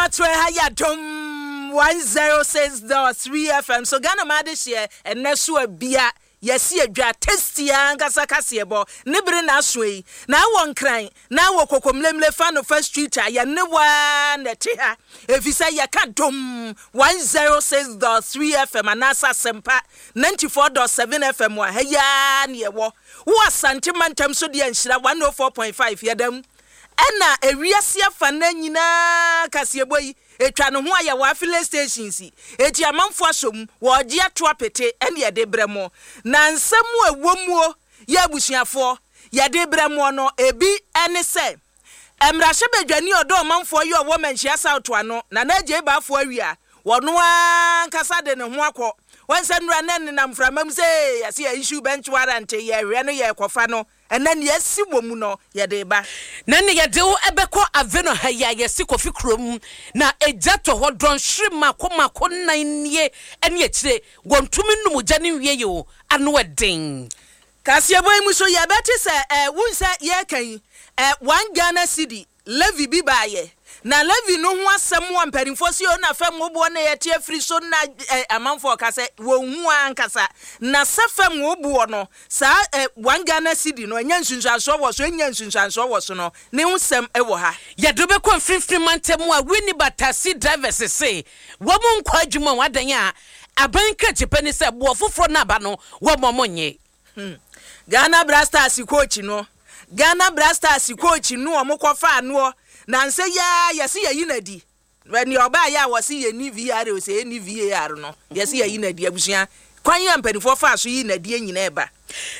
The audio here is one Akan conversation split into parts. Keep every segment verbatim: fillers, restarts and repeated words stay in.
Atorɛ ha yɛ Adom one zero six dot three F M so. Ghana ma adehyeɛ ɛnɛ so abia yɛsi adwa tasty ankasa kaseɛbɔ ne bere na aso yi na awɔ Nkran na awɔ Kokomlemle fa no First Street a yɛne waa na ɛte ha, ɛfiri sɛ yɛka Dom one zero six dot three F M anaasɛ Asɛmpa ninety four dot seven F M a, ha yaa ne yɛwɔ wo. Asante mantam so deɛ, Nhyira one oh four point five yɛdam, ɛna ewiase afa na nyinaa kaseɛbɔ yi etwa ne ho ayɛ wɔ affiliate stations yi, eti amanfo asom wɔregye ato apete ɛne yɛde brɛ mo. Na nsɛm a ɛwɔ muo yɛ, abusuafoɔ, yɛde brɛ mo no, ebi ɛne sɛ mmarahyɛbadwani ɔdɔ ɔmanfoɔ yi ɔwɔ Manhyia South ano, Nana Agye Baafoɔ Awia, wɔno ankasa de ne ho akɔ wɔn sɛ nnura ne nenam mframa mu sɛ yɛsɛ yɛ issue bench warrant, yɛhwɛ no, yɛkɔfa no. Ɛnɛ nea asi wɔ mu no, yɛde ba. Na ne yɛde wo ɛbɛkɔ Aveno ha yi a yɛsi Kofi kurom na egya tɔ hɔ dɔnhwere mako mako nnan nie ɛne akyire wɔntumi num gya ne nwie yi o, ano ɛden. Kaseɛbɔ yi mu so yɛbɛte sɛ ɛ wun sɛ yɛreka yi ɛ one Ghana cedi levy bi baayɛ, na levy no ho asɛm a mpanimfoɔ si o na fam woboɔ na yɛte afiri so na ɛ amanfoɔ ka sɛ wɔn hu ankasa na sɛ fam woboɔ no saa ɛ one Ghana cedi no ɛnyɛ nsunsuansoɔ wɔ so, ɛnyɛ nsunsuansoɔ wɔ so no ne ho sɛm ɛwɔ ha. Yɛde bɛkɔ Mfimfini mantam a Winneba taxi drivers se wɔn mu nkɔ adwuma wɔn adan a aban krakye pɛ ne sɛ boɔ foforɔ no aba no wɔn mo nye. Hmm. Ghana Black Stars coach no, Ghana Black Stars coach no, ɔmo kɔfa anoɔ na nsɛ yaa yɛsi yɛyi n'adi. Nea ɔbaa yɛ a wɔsi yɛ ni V R o, sɛ yɛ ni V A R no, yɛsi yɛyi n'adi. Abusua, kwan yɛ mpanimfoɔ fa so yi n'adi nyinaa ɛba.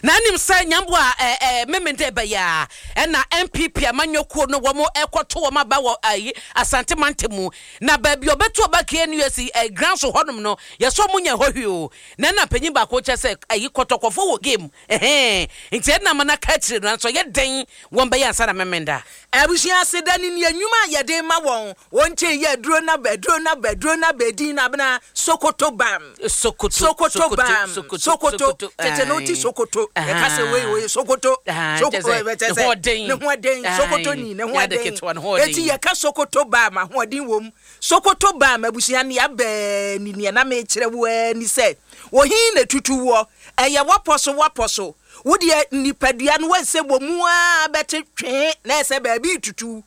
Na anim sɛ nyambo a ɛɛ ɛɛ Memende bɛyɛ a ɛna N P P amanyɔkuo no wɔn ɛkɔto wɔn aba wɔ ayi Asante mantam mu, na baabi a ɔbɛto ɔba K N U S ɛ ground so hɔnom no, yɛsɔ ɔmo nya hɔ hwee o. Na ɛna panyin baako kyɛ sɛ ayi Kɔtɔkɔfo wɔ game ɛhɛn, nti ɛna ama n'aka akyire no nso yɛ den wɔn bɛyɛ ansa na Memenda. Abusua, aseda ne nea nnwuma a yɛde ma wɔn wɔn nkyɛn yɛ aduro na ba, aduro na ba, aduro na ba edin na abena Sokoto Bam. Sokoto. Sokoto Bam, Sokoto tete no ti Sokoto, yɛka sɛ wei wei Sokoto. Kyɛ sɛ ne ho ɔden. Ne ho ɔden, Sokoto ni ne ho Nyɛ ade ɔden. Ketewa, ne ho ɔden. Eti yɛka Sokoto Bam, ahoɔden wɔ mu. Sokoto Bam, abusua, nea bɛɛ ni nea na mekyerɛ wo ani sɛ ohin na tutu woɔ, ɛyɛ wapɔ so, wapɔ so wodeɛ nipadua no wansɛ wɔ mu a bɛte twee na ɛsɛ baabi tutu.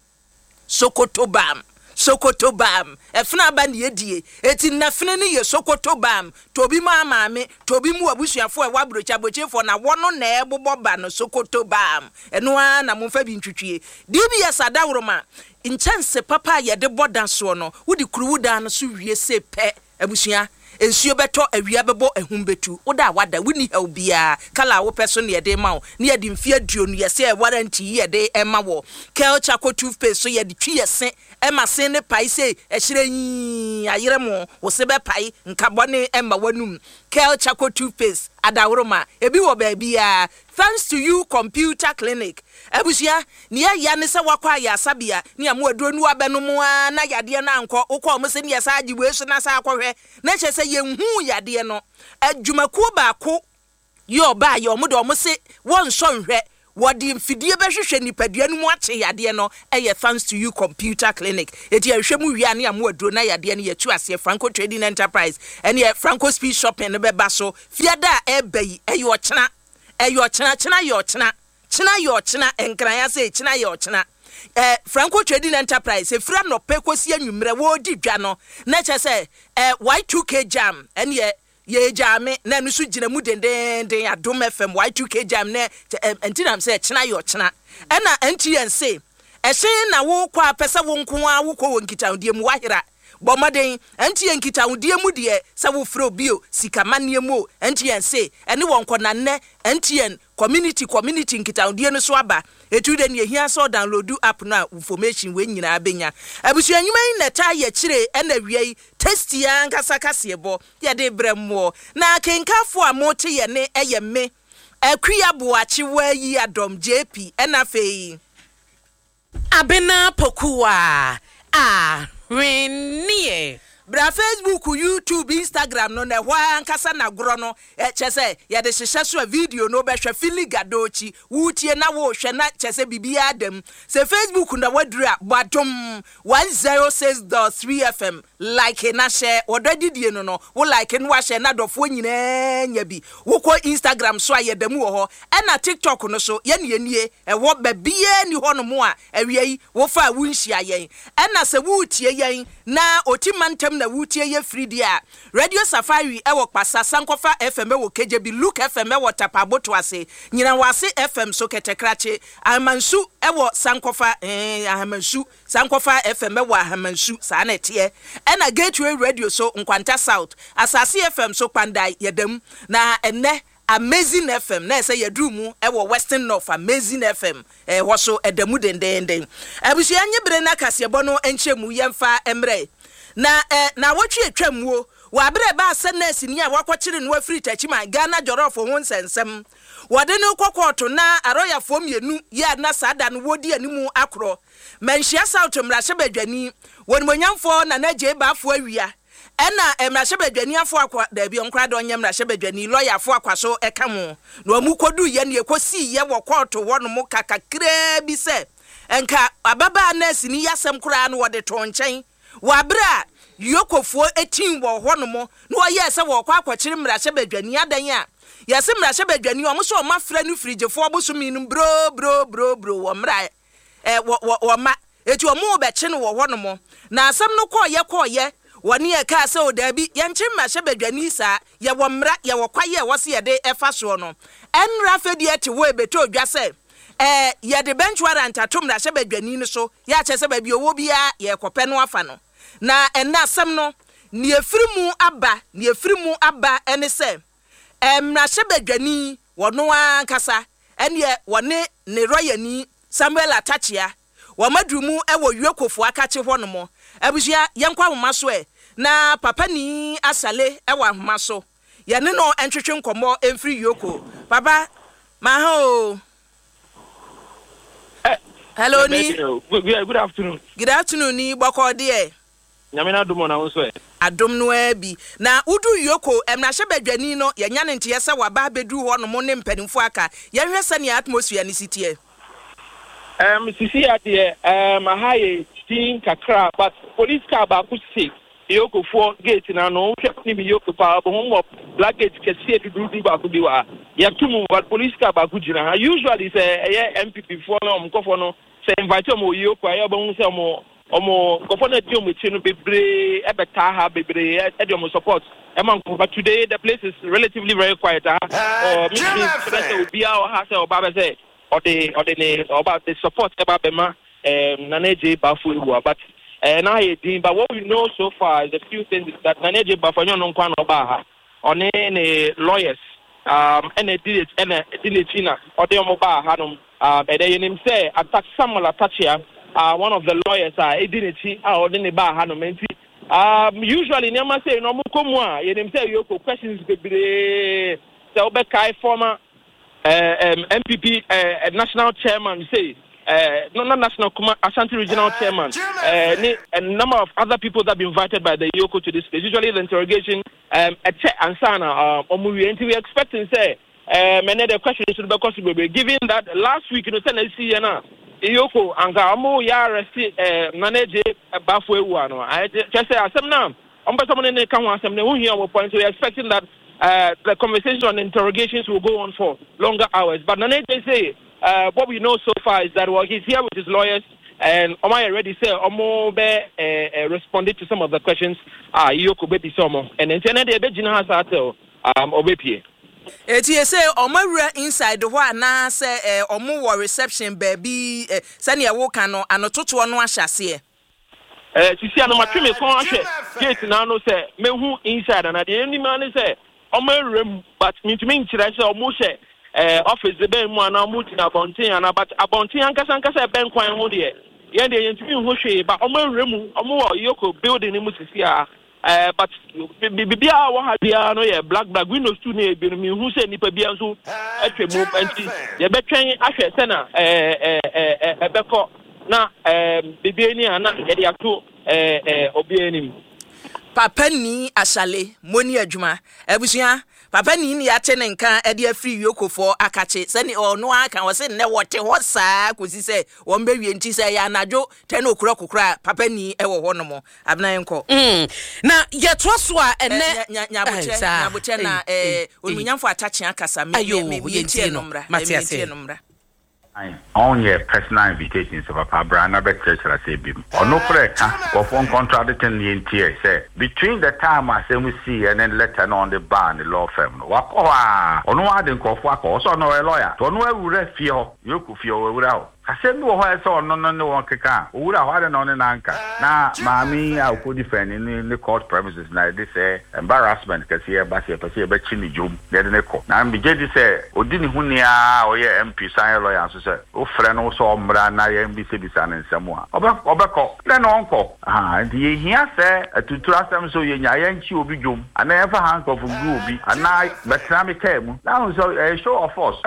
Sokoto Bam, Sokoto Bam, ɛfena aba ne yɛdie, eti nnafene no yɛ Sokoto Bam. Tobi mu amaame, tobi mu abusuafoɔ a ɛwɔ aburokyi, aburokyifoɔ na wɔno na ɛbobɔ ba no. Sokoto Bam, ɛno ara na momfa bi ntwitwie. D B S adaworoma nkyɛnse papa a yɛde bɔ da soɔ no, wode kuruwu dan no so wie se pɛ, abusua, nsuo bɛtɔ, awia bɛbɔ, ehum bɛtu, woda a wada, wonni haw biara. Colour a wopɛ so ne yɛde ma wo, ne yɛde mfe aduonu yɛsɛ ɛ warranty yi yɛde ɛma wɔ. Kel Charcoal toothpaste so yɛde twi yɛ se ɛma se ne pae se ɛhyerɛ yii ayerɛ mo, wo se bɛpae nkabɔne ɛma w'anum. Kel Charcoal toothpaste adaworoma ebi wɔ baabiara. Thanks To You Computer Clinic, abusua, nea ɛya ne sɛ wakɔ ayɛ asabea ne amu aduro no abɛnom a na yadeɛ no ankɔ. Wokɔ ɔmo sɛ ne yɛsa agye wei so na sa akɔhwɛ na kyerɛ sɛ yɛnhu yadeɛ no. Adwumakuo baako yɛ ɔbaa yɛ ɔmo de ɔmo se wɔnsɔ nhwɛ, wɔde mfidie bɛhwehwɛ nipadua no mu akye yadeɛ no. Ɛyɛ Thanks To You Computer Clinic. Eti ɛhwɛ mu wie a ne amu aduro na yadeɛ no yɛtu aseɛ. Franco Trading Enterprise ɛne Franco Speed Shopping no bɛba so fiada a ɛɛba yi. Ɛyɛ ɔkyena, ɛyɛ ɔkyena, kyena yɛ ɔkyena, kyena yɛ ɔkyena, Nkran ase kyena yɛ ɔkyena. ɛɛ franco Trading Enterprise efiri anɔpɛ kɔsi anwummerɛ wɔredi dwa no na kyerɛ sɛ ɛɛ Y two K jam ɛneɛ yɛgya na ɛno nso gyina mu dendenden. Adom F M Y two K jam na ɛ nti nam sɛ kyena yɛ ɔkyena. Ɛna M T N se ɛhyɛn na wokɔ a pɛ sɛ wo nko ara wokɔ wɔ nkitahodie mu wahera, bɔ mmɔden. M T N nkitahodie mu deɛ sɛ wofrɛ obi o, sikamanneɛ mu o, M T N se ɛne wɔn kɔ. Nannɛ M T N community community nkitahodie no so aba etu de nea ehia sɛ ɔdownload app no a information wei nyinaa benya. Abusua, nnwuma yi na ɛtaa yɛ kyire ɛna awia yi tasty ankasa kaseɛbɔ yɛde brɛ mmoɔ na akenkafoɔ a mote yɛ ne ɛyɛ me Akua Boakye Waayi Adɔm J P, ɛna afei Abena Pokuwa a hwenneɛ. Bra Facebook, YouTube, Instagram no na ɛhɔ ara ankasa na agorɔ no kyɛ sɛ yɛde hyehyɛ so a video no wobɛhwɛ Fili Gadochi wotie na wohwɛ na kyɛ sɛ biribiara da mu. Sɛ Facebook na waduru a, bɔ Adom one zero six dot three F M, like na hyɛ wɔdɔ adidie no no wo like no wahyɛ na adɔfoɔ nyinaa nya bi. Wokɔ Instagram so a, yɛda mu wɔ hɔ, ɛna TikTok no so yɛne yɛnie ɛwɔ baabiara ni hɔ nom a awia yi wofa a wonhyia yɛn. Ɛna sɛ woretie yɛn na Oti mantam na woretie yɛ firi deɛ a, Radio Safari ɛwɔ Kpasa, Sankɔfa F M ɛwɔ Kegyebi, Luke F M ɛwɔ Tapaboto ase, Nyinawase F M so Kɛtɛkrakye, Ahamansu ɛwɔ Sankɔfa, ɛɛ Ahamansu, Sankɔfa F M ɛwɔ Ahamansu, saa na ɛteɛ. Ɛna Gateway Radio so Nkwanta South, Asase F M so Kpandai, yɛdam. Na ɛnɛ Amazing F M na ɛsɛ yɛduru mu ɛwɔ Western North. Amazing F M ɛhɔ so ɛda mu dendenden. Abusua, nye bere na kaseɛbɔ no nkyɛn mu yɛmfa mmerɛ na ɛ na awɔtwe atwa muo wɔ abere ɛbaa sɛ nɛɛse ni a wakɔkyere no afiri Takyiman Ghana Jollof ho nsɛnsɛm wɔde no kɔ kɔɔto na arɔyafoɔ mmienu yɛ a na saa da no wɔdi animu akorɔ. Manhyia South mmarahyɛbadwani wɔnimonyamfoɔ Nana Gye Baafo Awia ɛna mmarahyɛbadwani afo akɔ daabi ɔnkora de ɔnyɛ mmarahyɛbadwani lɔya afo akwa so ɛka ho na wɔn kɔdu yɛ ne ɛkɔsii yɛ wɔ kɔɔto hɔ nom ka kakraa bi sɛ nka ababaa nɛɛse ni yasɛm koraa no wɔde to nkyɛn wɔ abere a yokofoɔ etin wɔ hɔ nom na wɔyɛɛ sɛ wɔkɔ akɔkyere mmarahyɛbadwani adan a yɛsɛ mmarahyɛbadwani ɔmo sɛ ɔmo afrɛ no firigyefoɔ bosomi no bro bro bro bro wɔ mmara ɛ wɔ wɔ wɔ ma eti ɔmo bɛkye no wɔ hɔ nom. Na asɛm no kɔɔyɛ kɔɔyɛ wɔne yɛ kaa sɛ o daabi, yɛnkye mmarahyɛbadwani saa, yɛwɔ mmara, yɛwɔ kwaeɛ a ɛwɔ sɛ yɛde ɛfa soɔ no. Ɛnra afɛdeɛ te hɔ ebɛtɔ odwa sɛ ɛɛ yɛde bench warrant ato mmarahyɛbadwani no so, yɛakyɛ sɛ baabi owó biara yɛrekɔpɛ no afa no. Na ɛnna asɛm no nea efiri mu aba nea efiri mu aba ɛne sɛ ɛɛ mmarahyɛbadwani wɔno ankasa ɛneɛ wɔne ne rɔyani Samuel Atakyea wɔn aduru mu ɛwɔ Yuokofoɔ akakye hɔ nom. Abusua, yɛnkɔ ahoma so ɛ na papa ni asale ɛwɔ ahoma so, yɛne no ntwetwe nkɔmmɔ mfiri Yoko. Papa, maha o. Hello, ni. Good, good afternoon. Good afternoon ni, bɔkɔ deɛ? Nyame na adom na wo nso ɛ? Adom no ara bi. Na wodu Yoko, mmarahyɛbadwani no yɛnya ne nteɛ sɛ waba abɛduru hɔ nom ne mpanimfoɔ aka. Yɛhwɛ sɛnea atmosphere ne si teɛ. Um, sisi adeɛ um, aha yɛ din kakra, but police car baako si Yokofoɔ gate na no wohwɛ ne mi Yoko paa bɔ wɔ black gate kɛseɛ dududu baako bi wɔ ha, yɛto mu, but police car baako gyina ha. Usually sɛ ɛyɛ N P P foɔ no, ɔmo nkɔfoɔ no sɛ invite ɔmo wɔ Yoko a, ɛyɛ ɔbɛhu sɛ ɔmo ɔmo nkɔfoɔ no adi ɔmo akyi no bebree ɛbɛtaa ha bebree ɛde ɔmo support ɛma nkɔfoɔ. But today the place is relatively very quiet ha. Ɔ mi mi kyerɛ sɛ obiara wɔ ha sɛ ɔba bɛ sɛ ɔde ɔde ne ɔba de support ɛba bɛma um, Nana Adjei Baffour Awuah, but uh, na ayɛ din. But what we know so far is a few things that Nana Adjei Baffour ɛnyɛ ɔno nko na ɔbaa ha, ɔne ne lawyers um, ɛna ɛdi ɛna ɛdi n'akyi na ɔde ɔmo baa ha nom. um, ɛdɛ yɛnim sɛ Atak Samuel Atakyea, uh, one of the lawyers a ɛdi n'akyi a ɔde ne baa ha nom. Nti um, usually nneɛma sɛ na ɔmo kɔ mu a, yɛnim sɛ yɛkɔ questions bebree sɛ wobɛkae former uh, um, N P P uh, national chairman say uh, no, not national, Kuma, Ashanti regional chairman, uh, ne, a number of other people that been invited by the E O C O to this place. Usually the interrogation, um, ɛkyɛ ansana ɔmo wie, nti we expecting sɛ um, ɛnɛ the question should be so bebree, given that last week no sɛ na esi yɛ na E O C O anka ɔmo yɛ arrest uh, Nana Adjei Baffour Awuah no, kyerɛ sɛ asɛm na ɔmo pɛ sɛ ɔmo ne ne ka ho asɛm na ɛho hia wɔ point, so we expecting that uh, the conversation on interrogations will go on for longer hours. But Nana Adjei say, uh, what we know so far is that, well, he's here with his lawyers and ɔmo ayɛ ready sɛ ɔmo bɛ uh, uh, responded to some of the questions a E O C O bɛ bisa ɔmo, and nti ɛnɛ deɛ ɛbɛgyina ha saa till um, ɔbɛpie. Eti ese ɔmo awura inside hɔ anaasɛ ɛ ɔmo wɔ reception baabi ɛ sɛnea ɛwɔ no anototoɔ no ahyɛ aseɛ? ɛɛ sisi a no matwe me kɔn ahwɛ gate n'ano sɛ mehu inside ana deɛ anim ano sɛ ɔmo awura mu, but mintumi nkyerɛ sɛ ɔmo hyɛ ɛɛ office de bɛn mu anaa ɔmo gyina abɔnten ana, but abɔnten ankasa ankasa ɛbɛn kwan ho deɛ, yɛn deɛ yɛntumi nhu hwee ba ɔmo awura mu. Ɔmo wɔ E O C O building ne mu sisi a ɛɛ but biribiara a wɔ ha biara no yɛ black black windows two ne ebi no mihu sɛ nipa biara nso atwa mu, nti yɛbɛtwɛn ahwɛ sɛna ɛɛ ɛɛ ɛɛ ɛbɛkɔ na ɛɛ biribi ani a na yɛde ato ɛɛ ɛɛ obiara anim. Papa ni ahyale moni adwuma. Abusua, papa ni ne yɛate ne nka de afiri yokofoɔ akakye sɛne ɔno aka wɔ se nnɛ wɔte hɔ saa kɔsi sɛ wɔn bɛwie, nti sɛ ɛyɛ anadwo ten o'clock koraa, papa ni ɛwɔ hɔ nom. Abena, yɛnkɔ. Mm. Na yɛtoa so a, ɛnɛ Nyabotrɛ, nyabotrɛ na onimuonyamfo Atakyea kasa. Ayo, yɛntie no mmra. Mate ase. Yɛntie no mmra. Ɔnyɛ personal invitation sɛ papa bra na bɛkyerɛkyerɛ sɛ bi mu ɔno korɛ ka nkurɔfoɔ ncontradict ne yɛntie sɛ between the time asɛm sii ɛne letter na ɔde baa ne law firm no, wakɔ hɔ a ɔno ade nkurɔfoɔ akɔ ɔsɛ ɔno ɔyɛ lawyer nti ɔno awura fie hɔ, yɛkɔ fie hɔ, wawura hɔ. Asɛm bi wɔ hɔ a ɛsɛ ɔno no ne wɔn keka a owura hɔ ade na ɔne nanka na maame yi a ɔkɔdi fɛn ne ne court premises na yɛde sɛ embarrassment kɛseɛ ɛba sɛ yɛpɛ sɛ yɛbɛkyi ne dwom na yɛde ne kɔ na megye di sɛ ɔdi ne ho nia a ɔyɛ M P san yɛ lawyer nso sɛ wofrɛ no sɛ ɔmmra na yɛmbisabisa ne nsɛm a ɔbɛ ɔbɛkɔ dɛn na ɔnkɔ aha. Nti yɛhia sɛ atuturu asɛm sɛ yɛnya yɛnkyi obi dwom anaa yɛmfa handcuff ngu obi anaa bɛtena me kaa mu na ahu sɛ ɛyɛ show of force.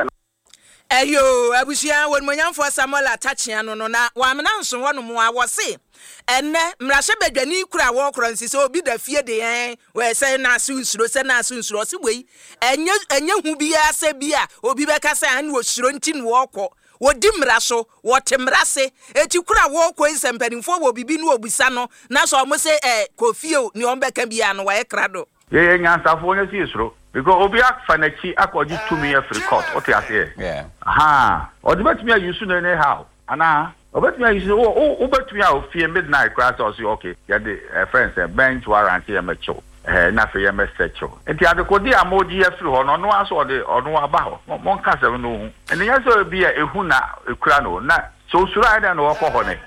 Ɛyo, abusua, wɔnimonyamfoɔ Samuel Atakyea no no na wɔamena nso hɔ nom a wɔse ɛnɛ mmarahyɛbadwani kura a wɔkorɔ nsi sɛ obi da fie de yɛn wɔ sɛ naase nsuro, sɛ naase nsuro. Ɔse wei ɛnyɛ ɛnyɛ hu biara sɛ bi a obi bɛka sɛ ɛne wɔsuro nti na wɔkɔ. Wɔdi mmara so, wɔte mmara se eti kura a wɔkɔ yi, sɛ mpanimfoɔ wɔ bibi ne wɔbusa no na sɛ ɔmo sɛ ɛ kɔ fie o, nea ɔmo bɛka biara no wɔyɛ krado. Yɛyɛ nyansafoɔ nyɛ sɛ yɛsuro because obi afa n'akyi akɔgye tumi afiri court, wote aseɛ? Aha ɔde bɛtumi ayi so no anyhow anaa ɔbɛtumi ayi so wo wo wobɛtumi a ofie midnight koraa sɛ ɔse okay, yɛde ɛfrɛ sɛ bench warrant, yɛ mɛkyew ɛɛ na afei yɛ mɛsɛkyew. Nti adekode a mogye afiri hɔ no, ɔno aso ɔde ɔno aba hɔ. Mo monka asɛm no ho ɛne nyɛ sɛ obi a ehu na ekura no na sɛ osuro ayɛ dɛn na wɔkɔ hɔ ne.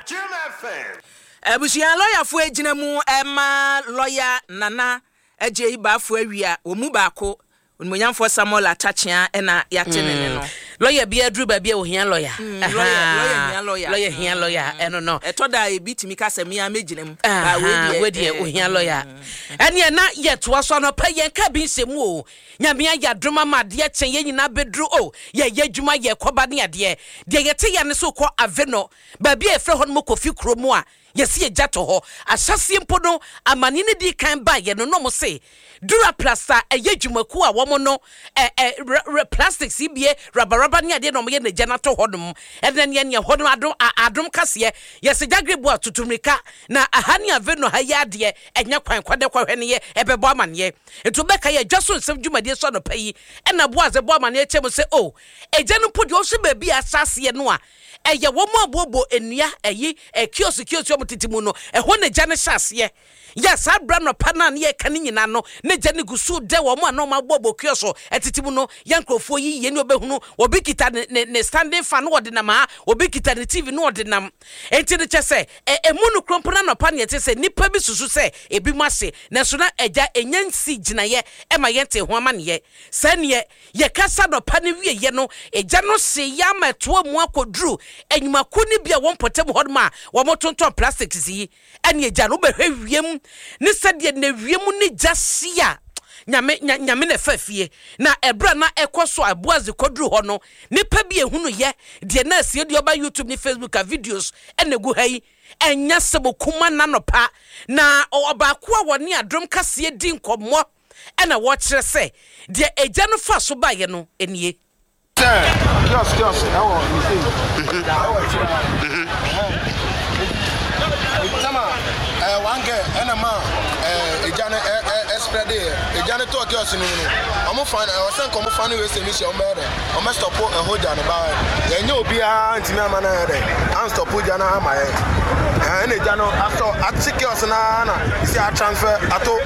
Abusua, lɔyafoɔ gyina mu ɛma lɔya Nana Agye yi baafo awia wɔn mu baako, onimonyamfoɔ Samuel Atakyea, ɛna yɛate ne ne no. Lɔya bi aduru baabi a ohia lɔya. Mm, lɔya lɔya hia lɔya. Lɔya hia lɔya, ɛno no. Ɛtɔ da a ebi tumi ka sɛ mmea mɛgyina mu. Aha, Ba, wei deɛ eh, ohia lɔya. Ɛneɛ na yɛtoa so anɔpa yɛn ka bi nhyɛ mu o. Nyame ayɛ adom ama adeɛ kyɛn yɛn nyinaa bɛduru o, yɛyɛ adwuma, yɛkɔba ne adeɛ deɛ yɛte yɛ ne so kɔ ave no baabi a yɛfrɛ hɔ no mu Kofi kuro mu a yɛsi yɛgya to hɔ ahyɛseɛ mpo no, amane no di kan baeɛ no na ɔmo se Duraplast a ɛyɛ dwumakuo a wɔn no ɛ ɛ rɛ rɛ plastics yi bie rabaraba ne adeɛ na wɔn yɛ n'agya n'ato hɔ nom. Ɛnna neɛ neɛ hɔ nom adom a adom kaseɛ yɛsɛ gyagre atutu mirika na aha ne ave no ha yi adeɛ ɛnyɛ kwan kwadɛ kɔhwɛ ne yɛ ɛbɛbɔ amaneɛ. Nti wobɛka yɛ adwa so nsɛm dwumadie so anɔpa yi, ɛna Boase bɔ amaneɛ kyɛ mu sɛ o agya no mpo deɛ ɔhyɛ baabi a ahyɛ no a ɛyɛ wɔn aboɔbɔ nnua ɛyi ɛ kiosk kiosk wɔn tete mu no, ɛhɔ na gya no hyɛ aseɛ yɛ. Saa abira nɔpa no a ne yɛka ne nyinaa no ne gya no gu so dɛ wɔn a na wɔn aboɔbɔ kiosk ɛtete mu no. Yɛ nkurɔfoɔ yi yie ne ɔbɛhunu obi kita ne ne ne standing fan no wɔde nam ha, obi kita ne T V no wɔde nam. Enti no kyɛ sɛ ɛ emu no kuro mpo na nɔpa ne yɛte sɛ nipa bi susu sɛ ebi mu ase, nanso na ɛgya enya nsi gyinaeɛ ɛma yɛn te ho amaneɛ saa. Neɛ yɛkasa nɔpa no wieyɛ no, ɛgya no hye yɛ ama ɛtoa mu akɔduru enyimako no bi a wɔn mpɔtam hɔ nom a wɔn tontɔn plastics yi. Ɛne ɛgya no wobɛhwɛ wiem ne sɛdeɛ na wiem ne gya hye a nyame nya, nyame na ɛfa fie na ɛberɛ a na ɛkɔ so a Boase kɔduru hɔ no, nipa bi ehunu yɛ deɛ na asie deɛ ɔba YouTube ne Facebook a videos ɛna egu ha yi. Ɛnya sɛ kuma nanɔpa na ɔbaako a wɔne Adom kaseɛ di nkɔmmɔ ɛna wɔkyerɛ sɛ deɛ agya no fa so baeɛ no nie. Sɛ kiosk kiosk ɛwɔ ne sei ɛwɔ akyire ha tama ɛɛ one girl ɛna ma ɛɛ egya no ɛ ɛ ɛspread yɛ egya no tɔɔ kiosk no mu no, ɔmo fa ɛwɔ sɛ nka ɔmo fa no wei sɛ mi hyɛ ɔmo bɛyɛ dɛ ɔmo stop ɛhɔ gya no ba yɛnyɛ obiara ntumi ama no yɛ dɛ anstop gya no ama yɛ ɛɛ ɛna egya no asɔ ate kiosk naa na esi atransfer ato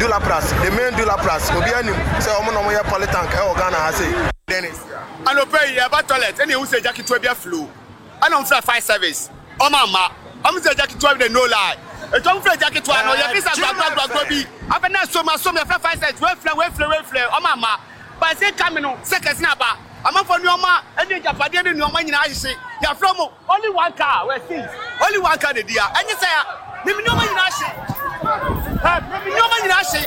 Duraplast, the main Duraplast. Obiara nim sɛ ɔmo na ɔmo yɛ polytank ɛwɔ Ghana ha sei. Dennis anɔpɛ yi yɛba toilet ɛna ehu sɛ gya ketewa bi aflow, ɛna ɔmo fira fire service, ɔmo ama ɔmo sɛ gya ketewa bi de, no lie, etu ɔmo fira gya ketewa no yɛ fi sɛ gbagbagbagba bi afɛ na asom asom. Yɛfrɛ fire service, weflɛ weflɛ weflɛ, ɔmo ama baasi kami no sɛ kɛse na aba amanfo nneɛma ɛne agyapadeɛ ne nneɛma nyinaa ahyehye. Yɛafrɛ mo only one car wɛ seize, only one car na di a ɛnyɛ sɛ ya mimi nneɛma nyinaa ahye ɛ mimi nneɛma nyinaa ahye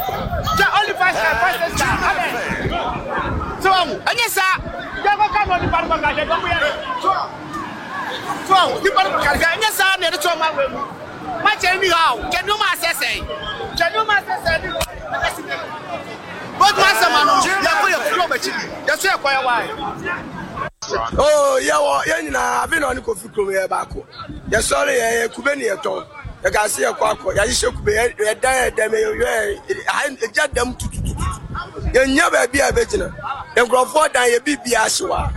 kyɛ only five star, five six star abɛ so ɔmo ɛnyɛ saa yɛ kɔ ka na onipa no kɔ ka yɛ dɔm yɛ so so ɔmo nipa no kɔ ka ɛnyɛ saa na yɛde to ɔmo awɛ mu makyɛ. Anyhow, hwɛ nneɛma asɛsɛe, hwɛ nneɛma asɛsɛe ne ɛsi dɛm. Both man sɛ ma no yɛkɔ yɛ firi ɔmo akyi yɛso yɛkɔ yɛ wae. Oh, yɛwɔ yɛn nyinaa abi na ɔne Kofi kurom yɛ baako. Yɛsɔre yɛ yɛ kube ne yɛtɔn. Yɛka se yɛkɔ akɔ yɛahyehyɛ kube yɛ yɛdan yɛ dɛm yɛ yɛ egya dɛm tutututu. Yɛnya baabi a yɛbɛgyina. Nkurɔfoɔ dan yɛ biribi ahye wa.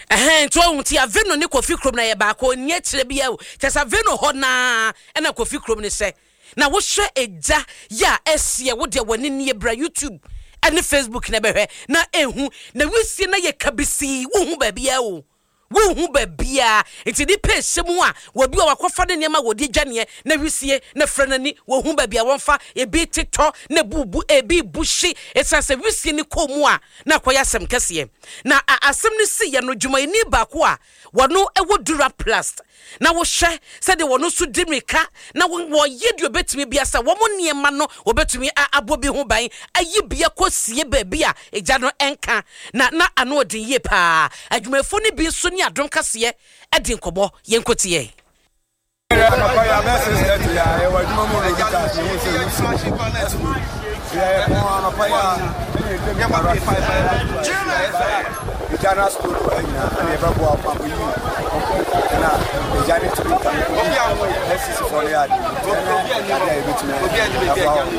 Ɛhɛn, nti ɔhu nti Aveno ne Kofi kurom na yɛ baako nyɛ kyerɛ bi o. Kyɛ sɛ Aveno hɔ naa ɛna Kofi kurom ne hyɛ. Na wohwɛ egya yɛ a ɛseɛ wo deɛ w'ani nie, bra YouTube ɛne Facebook na bɛhwɛ na ehu na wisie na yɛ kabisii, wohu baabiara o, wohu baabiara. Nti nipa ehyɛ mu a wɔbi a wakɔfa ne nneɛma wɔde dwaneɛ na wisie na frɛ n'ani, wɔhu baabi a wɔmfa ebi tetɔ na ebubu ebi bu hye esan sɛ wisie ne kɔn mu a na akɔyɛ asɛm kɛseɛ. Na asɛm no si yɛ no, dwumayɛni baako a wɔno ɛwɔ Duraplast na wohwɛ sɛdeɛ wɔno nso di mirika na wɔyɛ deɛ obɛtumi bia sɛ wɔn nneɛma no wɔbɛtumi abɔ bi ho ban ayi bia kɔsie baabi a egya no ɛnka na na ano ɔden yie paa. Adwumayɛfoɔ no bi nso ne Adom Kaseɛ ɛdi nkɔmmɔ, yɛn kɔtie. Anɔpa yi abɛɛ six thirty a yɛwɔ adwuma mu na kita ase ehu sɛ ehu si yɛ pɔn anɔpa yi a ɛna yɛde mi kara egya na sukuu no nyinaa ɛna yɛbɛboa pampo yi ɛna egya ne tumi nka N C C fɔ no yɛ ade ɛna ade a yɛbɛtumi ayɛ aboa wɔn.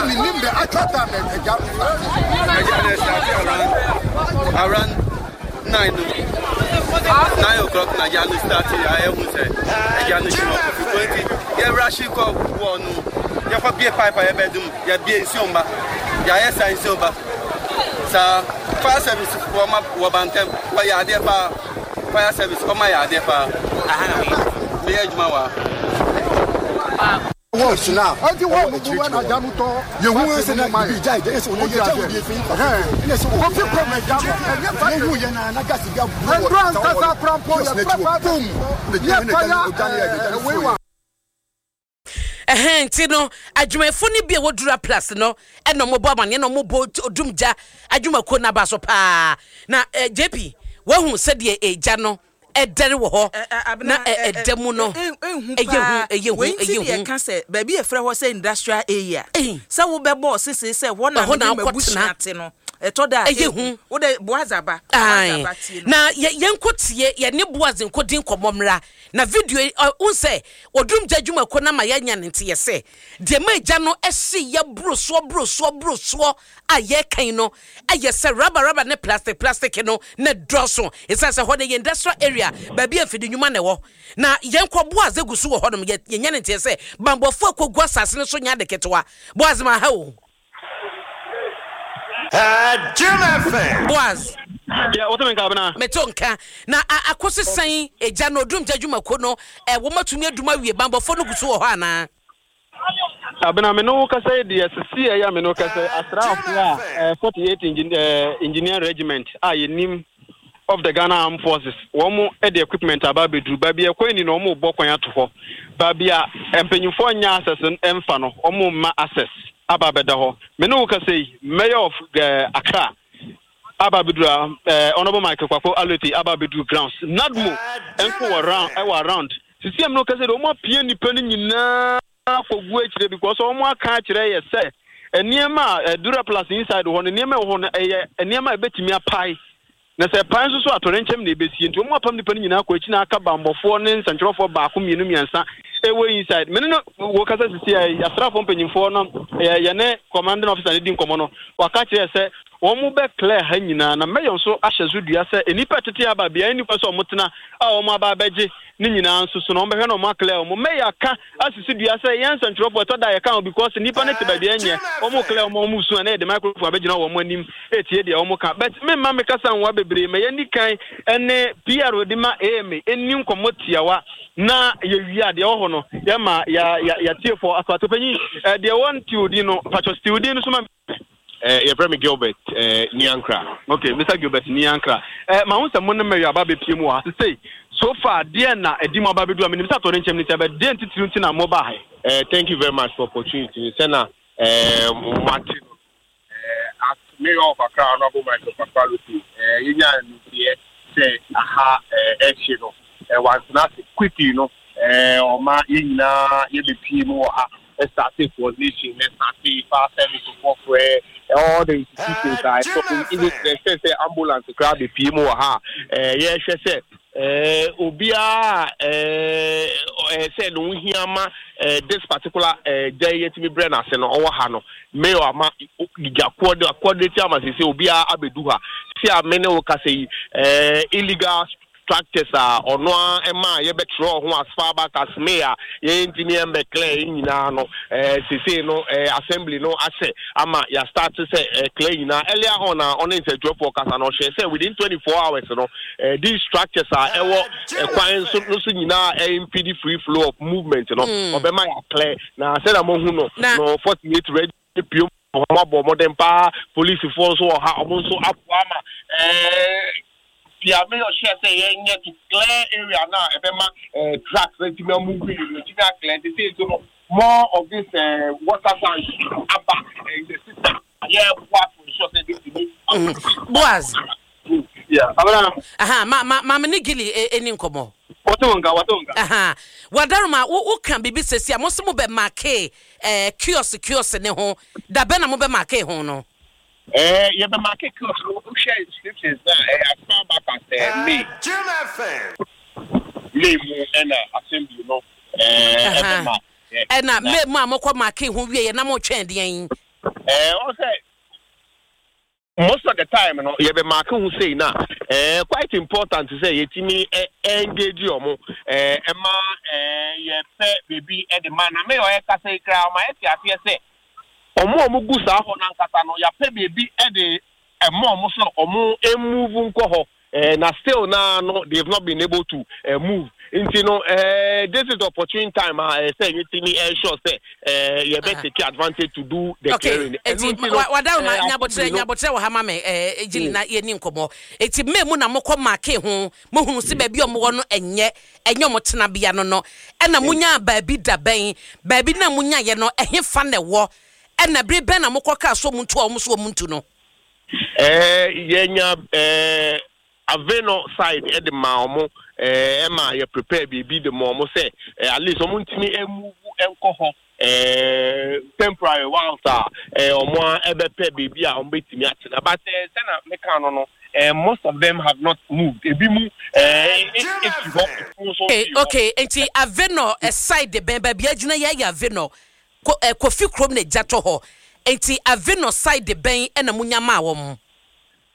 Nim the actual time ɛgya no start. Ɛgya no start around around nine nine o'clock na ɛgya no start a ɛhu sɛ ɛgya no hyɛ Kofi twenty yɛwura hye kɔ wɔ no, yɛkɔ bie pipe a yɛbɛdum, yɛbie nsuo mba, yɛayɛ saa nsuo ba saa. Fire service wɔma wɔ bantɛm, wɔyɛ adeɛ paa. Fire service ɔma yɛ adeɛ paa. Meyɛ adwuma wɔ ha. Wɔn na ɛwɔ akyirikyiri hɔ yehu sɛ na bibi gya gya ɛsɛ wɔn gya wɔ efi ɛna sɛ wɔn yehu yɛ na na gas bi abu wɔ kiosk n'akyi wɔ boom na gya na gya no gya no yɛ gya no fuo. Ɛhɛn, nti no adwumayɛfoɔ no bi a wɔdura plus no ɛna ɔmobɔ amaneɛ na ɔmobɔ odum gya adwumakuo no aba so paa. Na eh, J P, wahu sɛdeɛ egya no ɛdɛre wɔ hɔ na ɛda mu no, ɛyɛ hu, ɛyɛ hu, wei nti ɛyɛ ne hu. Yɛka sɛ baabi yɛfrɛ hɔ sɛ industrial area Ei. sɛ wobɛbɔ sese sɛ hɔ na Ɛhɔ na mede wokɔtena. m'abusua te no, ɛtɔ da a Ɛyɛ hu. Wode Boaz aba. Ae. Boaz aba, tie no. Na yɛ- yɛnkɔ tie yɛne Boaz nkɔdi nkɔmmɔ mmra na video yi, ɔ, wohu sɛ ɔdum gya adwumakuo no ama yɛanya ne nte yɛ sɛ deɛ ma agya no ɛhye yɛ boro soɔ boro soɔ boro soɔ a yɛrekan no ɛyɛ sɛ rubber rubber ne plastic plastic no na dɔɔso, ɛsiane sɛ hɔ no yɛ industrial area, baabi a mfidi nnwuma na ɛwɔ. Na yɛnkɔ Boaz egu so wɔ hɔnom. yɛ- yɛnya ne nteɛ sɛ bambɔfoɔ akɔgu asase no so nya ade ketewa. Boaz, ma ha o. Jim F M. Boaz. Yeah, wote me nka, Abena? Meto nka na a- akɔsi sɛn egya no odum gya adwumako no ɛ wɔmatumi adum awie? Bambɔfoɔ no gu so wɔ hɔ anaa? Abena, me ne wo kasa yi deɛ, sisi ɛyɛ a me ne wo kasa yi, asraafoɔ a eh, forty-eight engin eh, engineer regiment a yɛnim of the Ghana Armed Forces, wɔn de equipment aba abɛduru baabi a ɛkwan ni na wɔn rebɔ kwan ato hɔ. Baabi a mpanyinfoɔ nya access mfa no, wɔn mma access aba abɛda hɔ. Me ne wo kasa yi, mayor of eh, Accra aba abɛduru a eh, Honourable Michael Kwako Alete aba abɛduru grounds. NADMO nso wɔ round, ɛwɔ around sisi ɛmu no kasa de wɔn apue nipa no nyinaa akɔgu akyire because wɔn aka akyerɛ yɛ sɛ nneɛma a Duraplast inside hɔ no, nneɛma ɛwɔ hɔ no ɛyɛ nneɛma a ɛbɛtumi apae, na sɛ pae nso so atɔrɛnkyɛm na ɛbɛsie, nti wɔn apam nipa no nyinaa kɔ akyi na aka bambɔfoɔ ne nsɛntwerɛfoɔ baako, mmienu, mmiɛnsa ɛwɔ inside. Mene no wɔ kasa sisi a asraafoɔ mpanyinfoɔ no yɛ yɛne commanding officer no di nkɔmɔ no, waka kyerɛ sɛ wɔn mo bɛ clear ha nyinaa na mayor nso ahyɛ so dua sɛ nnipa tete aba beaeɛ nipa sɛ wɔn tena a wɔn aba abɛgye ne nyinaa nso so na wɔn bɛhwɛ na wɔn aclear wɔn. Mayor ka asisi dua sɛ yɛn nsɛntwerɛfoɔ ɛtɔ da yɛka ho because nnipa no te baabi ɛnyɛ wɔn clear wɔn wɔn su a na yɛde microphone abɛgyina wɔn anim etie deɛ wɔn ka. But memma me kasa nwa bebree ma yɛn ni kan ɛne P R de ma A M A ɛni nkɔmɔ tiawa na yɛwie a deɛ ɛwɔ hɔ no yɛma yɛ yɛ yɛtiefoɔ aso panyin ɛ deɛ wɔn tiwodi no patro tiwodi no so ma. Uh, yɛfrɛ me Gilbert uh, Niankra. Okay, Mister Gilbert Niankra, eh, ma ho sɛ mo ne mɛyɛ aba bɛpie mu wɔ ha sesei. So far deɛ na ɛdi mo aba bɛdu a menim sɛ atɔ ne nkyɛm ne sɛ bɛ deɛ ntitiri nti na mo ba ha? Uh, thank you very much for opportunity. Sɛna uh, mate no, uh, as mayor of Accra, Honorable Michael Kpakpo Allotey, uh, yɛnya nteɛ sɛ aha uh, ɛhye no, uh, wantena ase quickly no, ɛɛ ɔma yɛn nyinaa yɛbɛpie mu wɔ ha, ɛstart coordination, ɛstart fire service foɔ, all the institutions a ɛsɔ, even sɛ sɛ ambulance koraa bɛpie mu wɔ ha. ɛɛ yɛhwɛ sɛ ɛɛ obiara ɛɛ ɛɛ sɛ ne ho hia ma ɛɛ this particular ɛɛ gya yi yɛtumi brɛ n'ase no, ɔwɔ ha no. Mayor ama gya coordinate ama sɛ sɛ obiara abɛdu ha si a me ne wo kasa yi, ɛɛ illegal structures a ɔno a ɛma a yɛbɛtwerɛ ho as far back as May a yɛntumi ɛmbɛ clear yi nyinaa no, ɛɛ sese no ɛɛ assembly no ahyɛ ama yɛastart sɛ ɛɛ clear nyinaa. Earlier on a ɔne nsɛntwerɛfoɔ kasa no, ɔhyɛ sɛ within twenty four hours no, ɛɛ these structures a ɛwɔ ɛkwan so no so nyinaa ɛimpede free flow of movement no, ɔbɛma yɛ clear. Na sɛdeɛ mo hu no no forty eight ready pio, ɔmo abɔ ɔmɔden paa. Polisifoɔ nso wɔ ha, ɔmo nso aboa ama ɛɛ deɛ mayor hyɛ sɛ yɛnyɛ to clear area na ɛbɛma ɛɛ trucks ɛtumi amove yi no, ɛtumi aclear. Te sɛ nso no, more of this ɛɛ water tank aba in the system, yɛboa to ensure sɛ ɛbɛtumi. Boaz. Yeah, abena. Aha, ma ma ma me ne Gili eni nkɔmmɔ. Wɔte nka, wɔte nka. Aha, wadaroma wo wo ka biribi sɛsi a mo sɛ mo bɛ mark ɛɛ kiosk kiosk ne ho da bɛn na mo bɛ mark ho no? ɛɛ yɛbɛ mark kiosk no, wohwɛ inscriptions na ɛyɛ as far back as ɛɛ May May mu ɛna assembly no ɛɛ ɛbɛ mark. Ɛna May mu a mokɔ mark ho wie yɛ na mo twɛn deɛn? ɛɛ ɔsɛ most of the time no, yɛbɛ mark ho sei na ɛɛ quite important sɛ yɛtumi ɛ engage ɔmo ɛɛ ɛma ɛɛ yɛpɛ beebi ɛde ma. Na mayor ɔyɛ kasa yi koraa, ɔma yɛte aseɛ sɛ ɔmo a ɔmo gu saa hɔ nankasa no, yɛapɛ beebi ɛde ɛma ɔmo sɛ ɔmo emove nkɔ hɔ, ɛɛ na still na no, they have not been able to uh, move. Nti no, ɛɛ this is the opportune time a ɛɛ sɛ yɛtumi ensure sɛ ɛɛ yɛbɛ take advantage to do the okay clearing. Eti wadaroma, nyabotrɛ, nyabotrɛ wɔ ha ma me ɛɛ Gili na yɛni nkɔmmɔ. Eti May mu na mokɔ mark ho, mohunu si baabi a ɔmo wɔ no ɛnyɛ ɛnyɛ ɔmo tenabea no no ɛna monya baabi da bɛn? Baabi na monya yɛ no, ɛhe fa na ɛwɔ? Ɛna bere bɛn na mokɔ kaa so ɔmo ntu a ɔmo so ɔmo ntu no? ɛɛ yɛnya ɛɛ Aveno side ɛde ma ɔmo, ɛɛ ɛma yɛ prepare biribi de ma ɔmo sɛ ɛɛ at least ɔmo ntumi ɛmove ɛnkɔ hɔ ɛɛ temporary whilst a ɛɛ ɔmo a ɛbɛpɛ biribi a ɔmo bɛtumi atena. But ɛɛ sɛna meka no no ɛɛ most of them have not moved. Ebi mu ɛɛ efi hɔ, efi nso okay fi hɔ. Okay, nti Aveno side bɛn? Baabi agyina yɛ yɛ Aveno ko ɛ Kofi kurom na egya tɔ hɔ, nti Aveno side bɛn ɛna monya maa wɔn?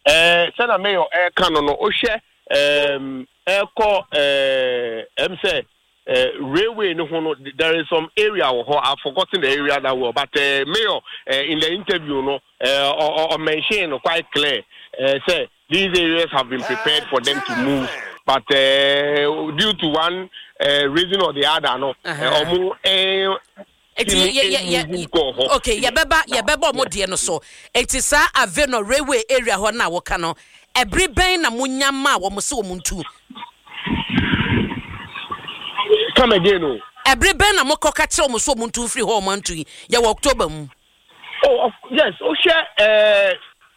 ɛɛ sɛna mayor ɛɛka no no wohwɛ ɛɛm ɛɛkɔ ɛɛ ɛm sɛ ɛɛ railway no ho no, there is some area wɔ hɔ. I forgotten the area that well, but uh, mayor uh, in the interview no, uh, or, or mention no quite clear uh, say these areas have been prepared for them to move, but uh, due to one uh, reason or the other no, ɔmo ɛɛ Eti yɛ yɛ yɛ kɔ hɔ. Okay, yɛbɛba yɛbɛba ɔmo deɛ no so. Eti saa Aveno railway area hɔ na wɔka no, ɛbere bɛn na monya maa wɔn sɛ wɔn ntu? Come again o. Ɛbere bɛn na mokɔ ka kyerɛ wɔn sɛ wɔn ntu mfiri hɔ? Wɔn antu yi, yɛwɔ October mu. Oh, of, yes, wohwɛ ɛɛ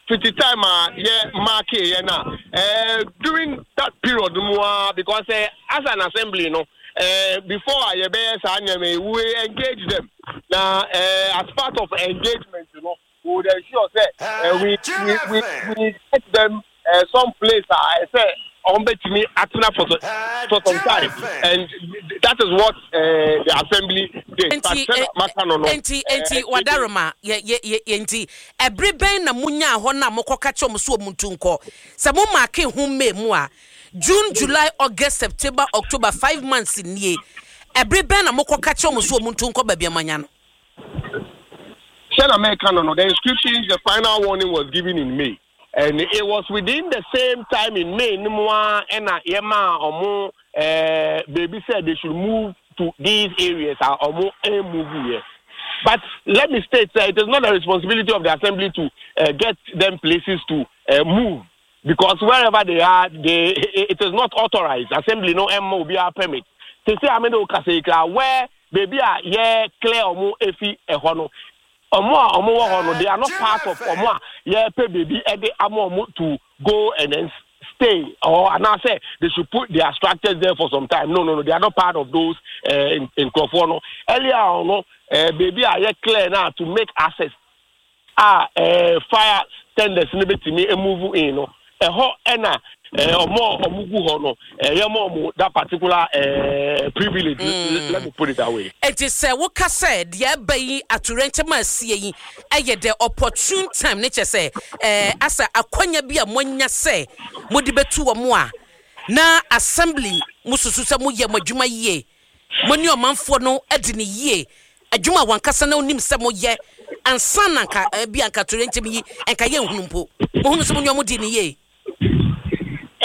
fifty time a yɛ mark yɛ na ɛɛ during that period mu a, because uh, as an assembly no, uh, before a yɛbɛyɛ saa nneɛma yi, we engage them. Na uh, as part of engagement no, we would ensure say uh, we, we we we get them uh, some place a ɛsɛ ɔmo bɛtumi atena for for some time, and that is what uh, the assembly did. Nti but sɛ maka no no nti nti wadaroma yɛ yɛ yɛ yɛ nti ɛbere bɛn na munya hɔ na mokɔ ka kyerɛ wɔn so wɔn ntu nkɔ? Sɛ mo mark ho May mu a, June, July, August, September, October, five months nie. Ɛbere bɛn na mokɔ ka kyerɛ wɔn so wɔn ntu nkɔ baabi amanya no? Sɛ na mɛka no no the inscriptions, the final warning was given in May, and it was within the same time in May no mu a ɛna yɛma ɔmo ɛɛ beebi sɛ they should move to these areas a ɔmo ɛmove yɛ. But let me state say it is not the responsibility of the assembly to uh, get them places to uh, move, because wherever they are, they it is not authorized. Assembly no ɛmma obiara permit te sɛ ame de o kasa yi kra where beebi a yɛ clear ɔmo efi ɛhɔ no, ɔmo a ɔmo wɔ hɔ no, they are not part of ɔmo a yɛpɛ beebi ɛde ama ɔmo to go and then stay or anaasɛ they should put their structures there for some time. No, no, no, they are not part of those uh, in nkurɔfoɔ no. Earlier on no, uh, baabi a yɛ clear now to make access a uh, fire tenders no bɛtumi move in no, ɛhɔ ɛna ɔmo ɔmo gu hɔ no, ɛyɛ mo ɔmo that particular uh, privilege mm. Let me put it that way. Enti sɛ woka sɛ deɛ ɛba yi, atorɛnkyɛm a asie yi, ɛyɛ the opportune time ne kyɛ sɛ ɛɛ asa akwanya bi a moanya sɛ mode bɛtu wɔ mo a na assembly mo susu sɛ moyɛ mo adwuma yie, mo ne ɔmanfoɔ no adi ne yie, adwuma a wankasa na onim sɛ moyɛ ansa na nka bi anka atorɛnkyɛm yi nka yɛ nhunu mpo mohunu sɛ mo ne ɔmo di ne yie.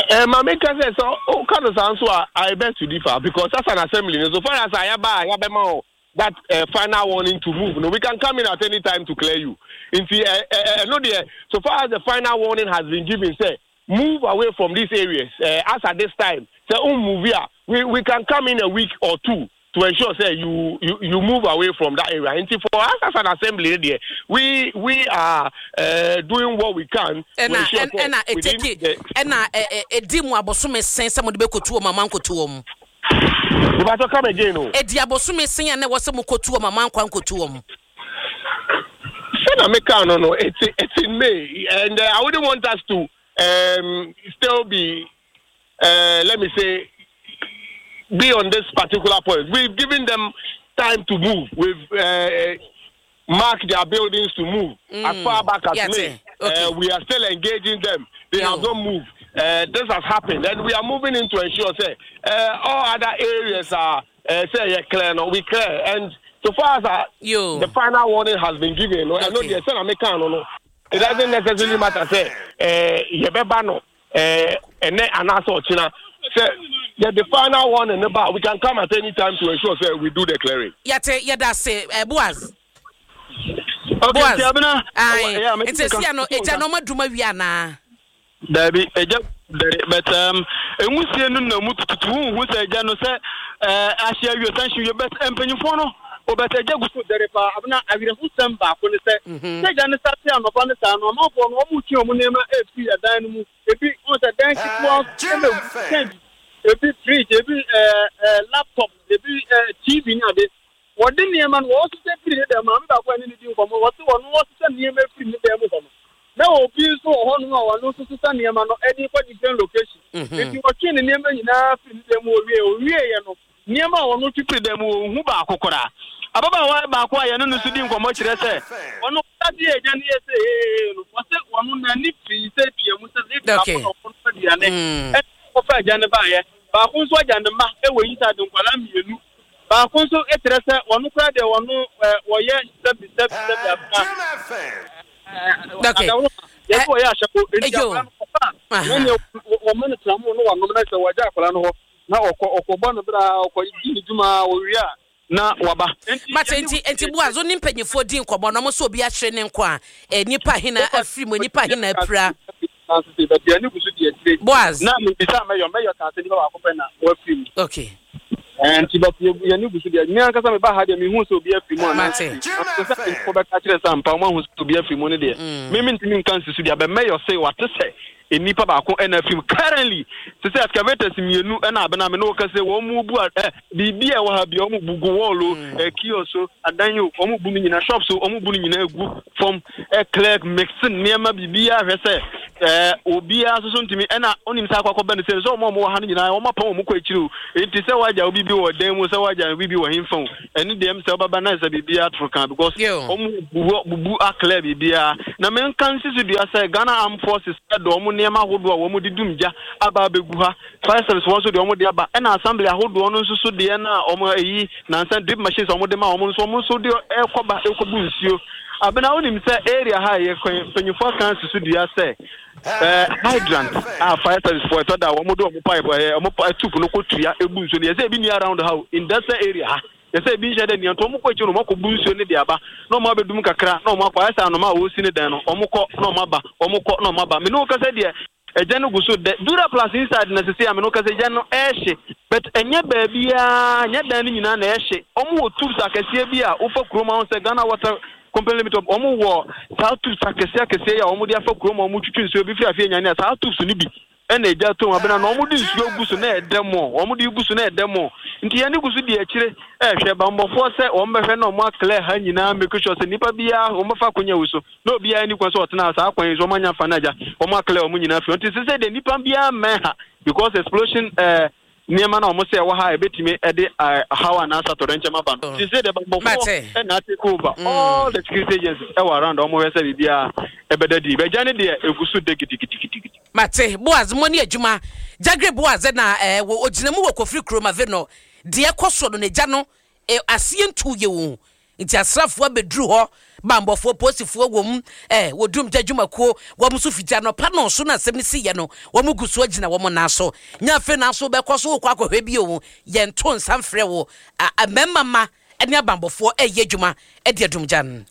Uh, Maame ka sɛ sɛ ɔka no saa nso a, I beg to differ, because as an assembly, so far as ayaba ayabɛma o that uh, final warning to move no, we can come in at any time to clear you. Nti ɛ ɛ ɛno deɛ, so far as the final warning has been given sɛ move away from these areas, uh, as at this time sɛ o move here, we we can come in a week or two to ensure sɛ you you you move away from that area. Nti for us as an assembly there, we we are uh, doing what we can to ensure sɛ ɛna eteki ɛna edi mu abosome sɛn sɛ mo de bɛ kotu wɔn ama nkotu wɔn? Ìbátɔ, come again o. Edi abosome sɛn a na ɛwɔ sɛ mo kotu wɔn ama nkwa nkotu wɔn? Sɛ na meka no no it's it's in May and uh, I wouldn't want us to um, still be uh, let me say, be on this particular point. We've given them time to move. We've uh, marked their buildings to move mm. as far back as yeah, May. Okay. Uh, we are still engaging them. They have not moved. Uh, this has happened, and we are moving in to ensure sɛ uh, all other areas are uh, sɛ yeah, clear. No, we clear. And so far as uh, the final warning has been given, no, I know the no, no, it doesn't necessarily matter. Sɛ, uh, yɛbɛba no, uh, and then anaasɛ sɛ yeah, the final one in the back, we can come at any time to ensure sɛ we do the clearing. Yate, yɛda se eh, Boaz. Okay, Boaz. Abena. Aye. Nti sia no egya no ɔma wi ana? Dabi, egya dare, but um enwusie no na mu tututu hu sɛ egya no sɛ eh ahye awie san hye wie, but mpanyinfoɔ no obɛtɛ egya gu so dare paa. Abena, awerɛhosɛm baako ne sɛ sɛ egya no sate anɔpa ne saa no, amanfoɔ no wɔn twe wɔn nneɛma efiri ɛdan no mu. Ebi wɔn sɛ dan ketewa ɛna egu, ebi fridge, ebi ɛɛ ɛɛ laptop, ebi ɛɛ T V ne ade. Wɔde nneɛma no wɔsesɛ firi ne dɛm. Maame baako a ne ne di nkɔmɔ, wɔte wɔn wɔsesɛ nneɛma firi ne dɛm hɔ no, na obi nso wɔ hɔnom a wɔn nso sesa nneɛma no ɛde kɔ different location. Nti wɔtwe ne nneɛma nyinaa firi ne dɛm. Owie owie yɛ no, nneɛma a wɔn twe firi dɛm wɔ ohu baako koraa. Ababaawa baako a yɛne no nso di nkɔmɔ kyerɛ sɛ ɔno ɔsate yɛ agya no yɛ sɛ ee no, wɔsɛ wɔn n'ani firi sɛ pia mu sɛ ebi baako na ɔno aduane ɛna ɔkɔfa agya no baayɛ. Baako nso agya ne mma ɛwɔ yi sɛ ade nkwadaa mmienu. Baako nso kyerɛ sɛ wɔn koraa deɛ, wɔn ɛ wɔyɛ sɛbi sɛbi sɛbi afena Okay. adaworo yɛsɛ wɔyɛ ahyɛko nti Eyo. akwadaa no kɔfa a wɔn yɛ wɔn ma no tena mu no, wɔnom na sɛ wɔagya akwadaa no hɔ na ɔkɔ ɔkɔbɔ no bere a ɔkɔ di ne dwuma a ɔwie a na waba. Mate. nti nti Boaz, wo ne mpanyinfoɔ di nkɔmmɔ na ɔmo sɛ obi ahyere ne nko a eh, nipa hena afiri mu, nipa hena apira? Baabi a ne gu so di akyire. Boaz. Na mebisa mɛyɔ mɛyɔ kan sɛ nipa baako pɛ na wafiri mu. Okay. Nti but yɛne gu so deɛ, me ankasa meba ha deɛ, mehu sɛ obi afiri mu anaa? Mate. Sɛ nkɔ bɛka kyerɛ sɛ ampa ɔmo ahu sɛ obi afiri mu no deɛ, me mentumi nka nsi so deɛ bɛmɛyɔ sɛ wate sɛ nnipa baako ɛna afiri mu. Currently te sɛ excavators mmienu ɛna abena me ne wɔka sɛ wɔn mu bu a ɛ biribi a ɛwɔ ha bia wɔn bu gu wall o, ɛ kiosk o, adan o, wɔn bu no nyinaa, shops o, wɔn bu no nyinaa gu fam, ɛ clear, mix nneɛma biribiara hwɛ sɛ ɛɛ obiara nso so ntumi ɛna onim sɛ akɔ akɔbɛ no sɛ sɛ wɔn a wɔwɔ ha no nyinaa wɔn apɔn wɔn kɔ akyiri o. Nti sɛ wagya obi bi wɔ dan mu, sɛ wagya obi bi wɔ hemfa o, ɛne deɛ m sɛ ɔbɛba na sɛ biribiara toro kan because Yo. wɔn bubu bubu aclear biribiara. Na menka nsi so dua sɛ Ghana Armed Forces ɛde wɔn nneɛma ahodoɔ a wɔn de dum gya aba abɛgu ha. Fire service wɔn nso deɛ wɔn de aba, ɛna assembly ahodoɔ no nso so deɛ na wɔn ayi nansa drip machines a wɔn de ma wɔn nso, wɔn nso de ɛkɔba ɛkɔbu nsuo. Abena, wonim sɛ area ha yɛ kwan mpanyinfoɔ aka nsi so dua sɛ ɛɛ hydrant a fire service foɔ ɛtɔ da wɔn de wɔn pipe ɛɛ wɔn pa tube no kɔ tua ebu nsuo no, yɛsɛ ebi ni around ha o, industrial area ha, yɛsɛ ebi nhyɛ dɛ nea nti wɔn kɔ akyire no, wɔn akɔ bu nsuo no de aba na wɔn abɛdum kakra na wɔn akɔ. Ayɛ sɛ anoma a wɔresi ne dan no, wɔn kɔ na wɔn aba, wɔn kɔ na wɔn aba. Mene wo kasa deɛ, ɛgya no gu so dɛ Dura Plus inside na sisi a mene wo kasa, ɛgya no ɛɛhye, but ɛnyɛ baabiara, nyɛ dan no nyinaa na ɛhye. Wɔn wɔ tubes akɛseɛ bi a wofa kurom ahɔ sɛ Ghana Water Company Limited, wɔn wɔ saa tubes akɛseɛ akɛseɛ yi a wɔn de afa kurom a wɔn twitwi nsuo bi firi afei nyane a saa tubes no bi Ɛna egya tom abena na wɔn de nsuo gu so na ɛdɛ mo, wɔn de gu so na ɛdɛ mo. Nti yɛn gu so di akyire ɛhwɛ bambɔfoɔ sɛ wɔn bɛhwɛ na wɔn aclear ha nyinaa, make sure sɛ nipa biara wɔn bɛfa akonnwa wi so na obiara ni kwan sɛ ɔtena saa kwan yi so. Wɔn anya fa no agya wɔn aclear wɔn nyinaa fi. Nti sɛ deɛ nipa biara mmɛn ha because explosion ɛɛ nneɛma na wɔn sɛ ɛwɔ ha ebetumi ɛde haw anaasɛ atɔrɛnkyɛm aba no. Nti sɛ deɛ bambɔfoɔ ɛna take over mm. all the security agencies ɛwɔ around, wɔn hwɛ sɛ biribiara ɛbɛda di bɛgya ne deɛ egu so de gidigidigidi. Mate. Boaz mo ne adwuma Jagre Boaz na ɛɛ wɔ ogyina mu wɔ Kofiri kurom ave no deɛ ɛkɔ so no n'agya no ɛ aseɛ ntu yɛ o. Nti asraafoɔ abɛduru hɔ, bambɔfoɔ, polisifoɔ wɔ mu, ɛ wɔdum gya dwumakuo wɔn nso fiti anɔpa no so na asɛm no si yɛ no wɔn gu so agyina wɔn nan so. Nya afei na so bɛkɔ so wokɔ akɔhwɛ bi o, yɛnto nsa mfrɛ wo. Mmarima ma ne abambɔfoɔ ɛyɛ adwuma ɛde adum gya no.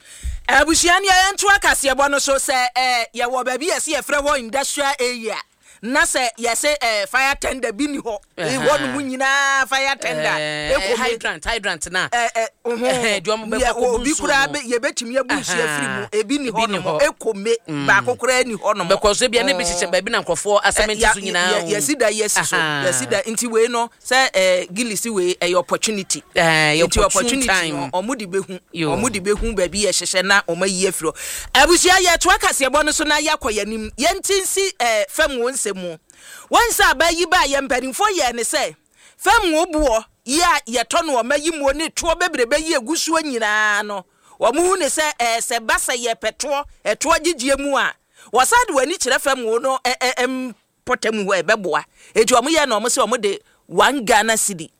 Abusua ne yɛnto akaseɛbɔ no so sɛ ɛ yɛwɔ baabi yɛsɛ yɛfrɛ hɔ industrial area na sɛ yɛsɛ ɛ fire tender bi ni hɔ hɔ nom nyinaa fire tender. Ekome hydrant hydrant na ɛ ɛ ɔho obi koraa yɛbɛtumi abu nsuo afiri mu, ebi ni hɔ nom ekome baako koraa ni hɔ nom. Bɛkɔ so ebi ne bi hyehyɛ baabi na nkurɔfoɔ asɛmɛnti so nyinaa. Yɛsi da yɛsi so yɛsi da. Nti wei no sɛ ɛ gili si wei ɛyɛ opportunity, nti opportunity no ɔmo de bɛhu ɔmo de bɛhu baabi yɛhyehyɛ na ɔmo ayi afiri hɔ. Abusua, yɛtoa kaseɛbɔ no so na yɛakɔ yɛn anim. Yɛnti nsi ɛ fam wɔ nsɛm mu wɔn sɛ aba yi ba yɛ mpanimfoɔ yɛ ne sɛ fam wɔ boɔ yi a yɛtɔ no ɔma yi muo ne toɔ bebrebe yi egu soɔ nyinaa no, wɔn hu ne sɛ ɛɛ sɛ ba sɛ yɛpɛ toɔ ɛtoɔ gyegyeɛ mu a, wɔsan de wɔn ani kyerɛ fam wɔ no ɛ ɛ mpɔtam hɔ ɛbɛboa. Eti wɔn yɛ na wɔn sɛ wɔn de one Ghana cedi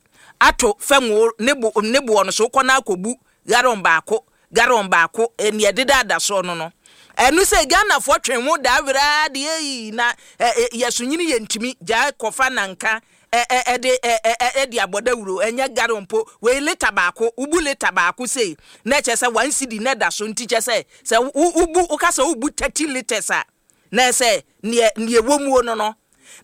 ato fam wɔ ne bo ne boɔ no so kɔ na akɔbu gallon baako gallon baako nea ɛdeda ada soɔ no no ɛno sɛ Ghanafoɔ twe ho daa weraa deɛ yi na yɛso nyini yɛ ntumi gyaa kɔfa nanka ɛde ɛde abɔdawuro ɛnyɛ gallon mpo. Wei lita baako, wobu lita baako sei na ɛkyɛ sɛ one cedi na ɛda so. Nti kyɛ sɛ sɛ wobu woka sɛ wobu thirty litres a, na ɛsɛ neɛ neɛ wɔ muo no no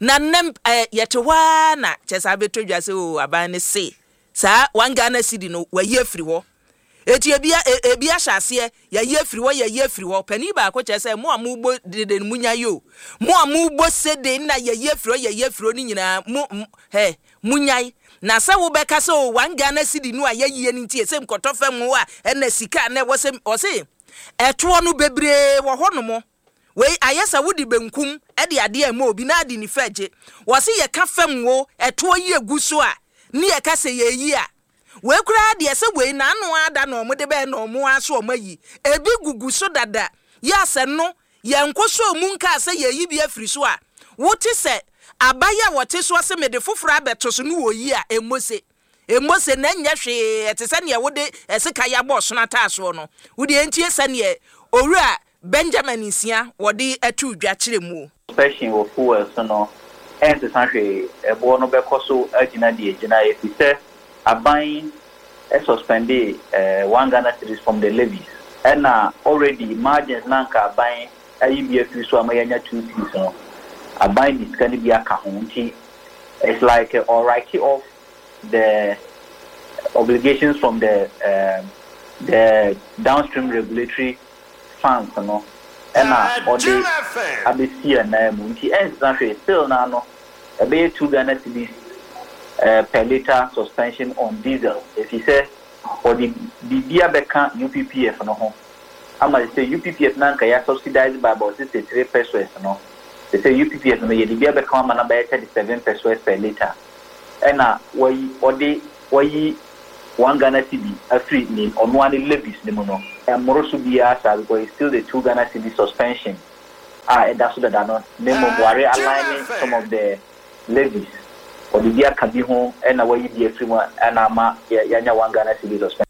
na nnɛ ɛɛ yɛte hɔ ara na kyɛ sɛ abɛtɔ dwa sɛ o aban ne se saa one Ghana cedi no wayi afiri hɔ. Eti ebi ebi ahyɛ aseɛ yɛyi afiri hɔ, yɛyi afiri hɔ. Panin baako kyerɛ sɛ mo a mo bɔ dede no mo nya yi o, mo a mo bɔ sede na yɛyi afiri hɔ yɛyi afiri hɔ no nyinaa mo hɛ mo nyae. Na sɛ wobɛka sɛ o one Ghana cedi no a yɛyie no nti ɛsɛ nkɔtɔ fam hɔ a, ɛna sika na ɛwɔ sɛ ɔse ɛtoɔ no bebree wɔ hɔ nom. Wei ayɛ sɛ wode benkum ɛde adeɛ ɛma obi na ade nifa gye. Wɔse yɛka fam wo ɛtoɔ yi egu so a ne yɛka sɛ yɛyi a, wei koraa deɛ sɛ wei n'ano ada na ɔmo de bɛyɛ na ɔmo aso ɔmo ayi ebi gugu so dada. Yɛ asɛ no yɛn so mu nka sɛ yɛyi bi afiri so a, wote sɛ abayɛ a wɔte so ɔsɛ mede foforɔ abɛto so no wɔyi a, emose emose na nyɛ hwee. Ɛte sɛ nea wode ɛseka yɛabɔ ɔsono ataasoɔ no wode. Entie sɛ neɛ Owura Benjamin Nsia wɔde ɛto dwa kyerɛ mu. Suspension wɔ fuel so no ɛnsesa hwee, ɛboɔ no bɛkɔ so agyina deɛ gyina, ɛfiri sɛ aban suspended uh, one Ghana cedis from the levies, ɛna already margins na nka aban ayi bi afiri so ama yɛanya two cedis no, aban de sika no bi aka ho. Nti it's like uh, or write off the obligations from the uh, the downstream regulatory funds no ɛna ɔde abɛsi ɛnan mu. Nti ɛnsesa hwee, still na no ɛbɛyɛ two Ghana cedis uh, per litre suspension on diesel, ɛfiri sɛ ɔde biribi abɛka U P P F no ho ama sɛ U P P F na nka yɛ subsidize by about sixty three pesewas no, sɛ U P P F no yɛde bi abɛka ama no bɛyɛ thirty seven pesewas per litre, ɛna wɔyi ɔde wɔyi one Ghana cedi afiri ne ɔno ani levies ne mu no, ɛmmoro so biara saa because it's still the two Ghana cedi suspension a ɛda so dada no, na mmom ware align some of the levies, ɔde bi aka bi ho ɛna wɔyi bi afiri mu ɛna ama yɛanya one Ghana cedi suspension.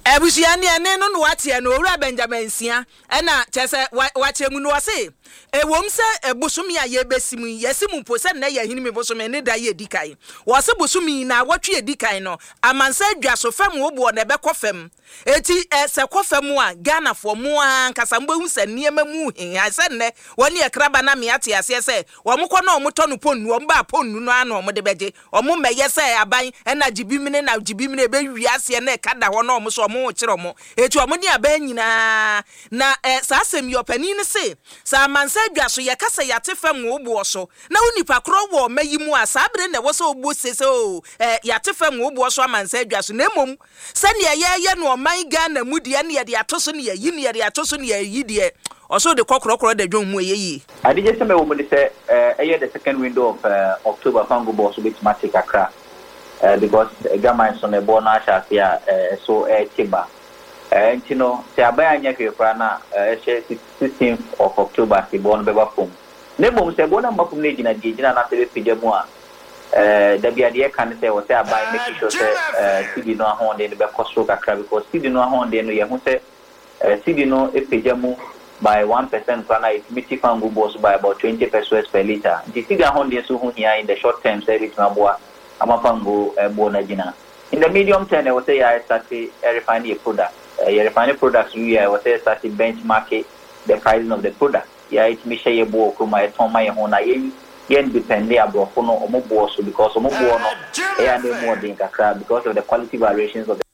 Abusua ne ɛne no na wateɛ no Owura Benjamin Nsia ɛna kyerɛ sɛ wakyerɛ mu no, ɔse ɛwom sɛ bosome a yɛbɛsi mu yɛsi mu mpo sɛ nnɛ yɛ ahinime bosome ne da yɛ di kan, wɔse bosome yi na awɔtwe edi kan no amansa adwa so fam wo boɔ na ɛbɛkɔ fam. Eti ɛ sɛ kɔ fam a, Ghanafoɔ mo ankasa mobɛhu sɛ nneɛma mu hia sɛ nnɛ wɔne ɛkraba na mea te aseɛ sɛ wɔn kɔ na wɔn tɔ no ponnu, wɔn ba ponnu no ano wɔn de bɛgye wɔn mmɛyɛ sɛ aban ɛna gyibi mene na gyibi mene ɛbɛwi aseɛ na ɛka da hɔ na wɔn so wɔn ho kyerɛ ɔmo eti ɔmo ne abɛn nyinaa na ɛ saa asɛm yi ɔpanin no se sɛ amansa adwa so yɛka sɛ yɛate fam wo boɔ so na wo nipa korɔ wɔ ɔma yi mu a saa bere na ɛwɔ sɛ ɔbɔ se sɛ o ɛ yɛate fam wo boɔ so amansa adwa so na mmom sɛnea yɛyɛ no ɔman Ghana mu deɛ ne yɛde ato so ne yɛyi ne yɛde ato so ne yɛyi deɛ ɔso de kɔkorɔkorɔ da dwom mu ɛyɛ yie. Adigye sɛ mɛwɔ mu de sɛ ɛyɛ the second window of uh, October fango bɔ so bɛtumi ate kakra uh, because adwaman so no ɛboɔ no ahyɛ ase a ɛso ɛɛte ba nti no sɛ aban anyɛ hwee koraa na ɛhyɛ sixteenth of October sɛ ɛboɔ no bɛba fam na mmom sɛ ɛboɔ no amma fam no gyina deɛ gyina anaasɛ bɛpagya mu a dabi adeɛ ka ne sɛ wɔ sɛ aban make sure sɛ cedi no ahoɔden no bɛkɔ soro kakra because cedi no ahoɔden no yɛho sɛ cedi no pagya mu by one percent koraa na ɛtumi ti fango boɔ so by about twenty pesewas per litre nti cedi ahoɔden so ho hia in the short term sɛ ɛbɛtumi aboa ama fango boɔ no agyina. In the medium term ɛwɔ sɛ yɛ start refine yɛ product yɛ refine products wie a ɛwɔ sɛ yɛ start benchmark the pricing of the product yɛ ɛtumi hyɛ yɛ boɔ kurom a yɛtɔn ma yɛ ho na yɛn yɛn depend aborɔfo no ɔmo boɔ so because ɔmo boɔ no ɛyɛ ade mu ɔden kakra because of the quality variations of the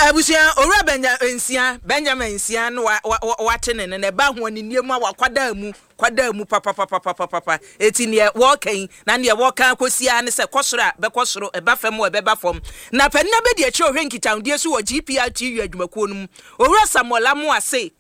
abusua owura Benjamin Nsia Benjamin Nsia no wa wate ne ne ba ho ne nneɛma a wakwada mu kwada mu papa papa papa papa eti ne wɔkan na ne wɔkan kosia ne sɛ kɔsoro a bɛkɔsoro ɛba fam o ɛbɛba fam na panina bɛdi akyi ohwɛ nkitahodie so wɔ G P R T U adwumakuo no mu owura Samuel Amoase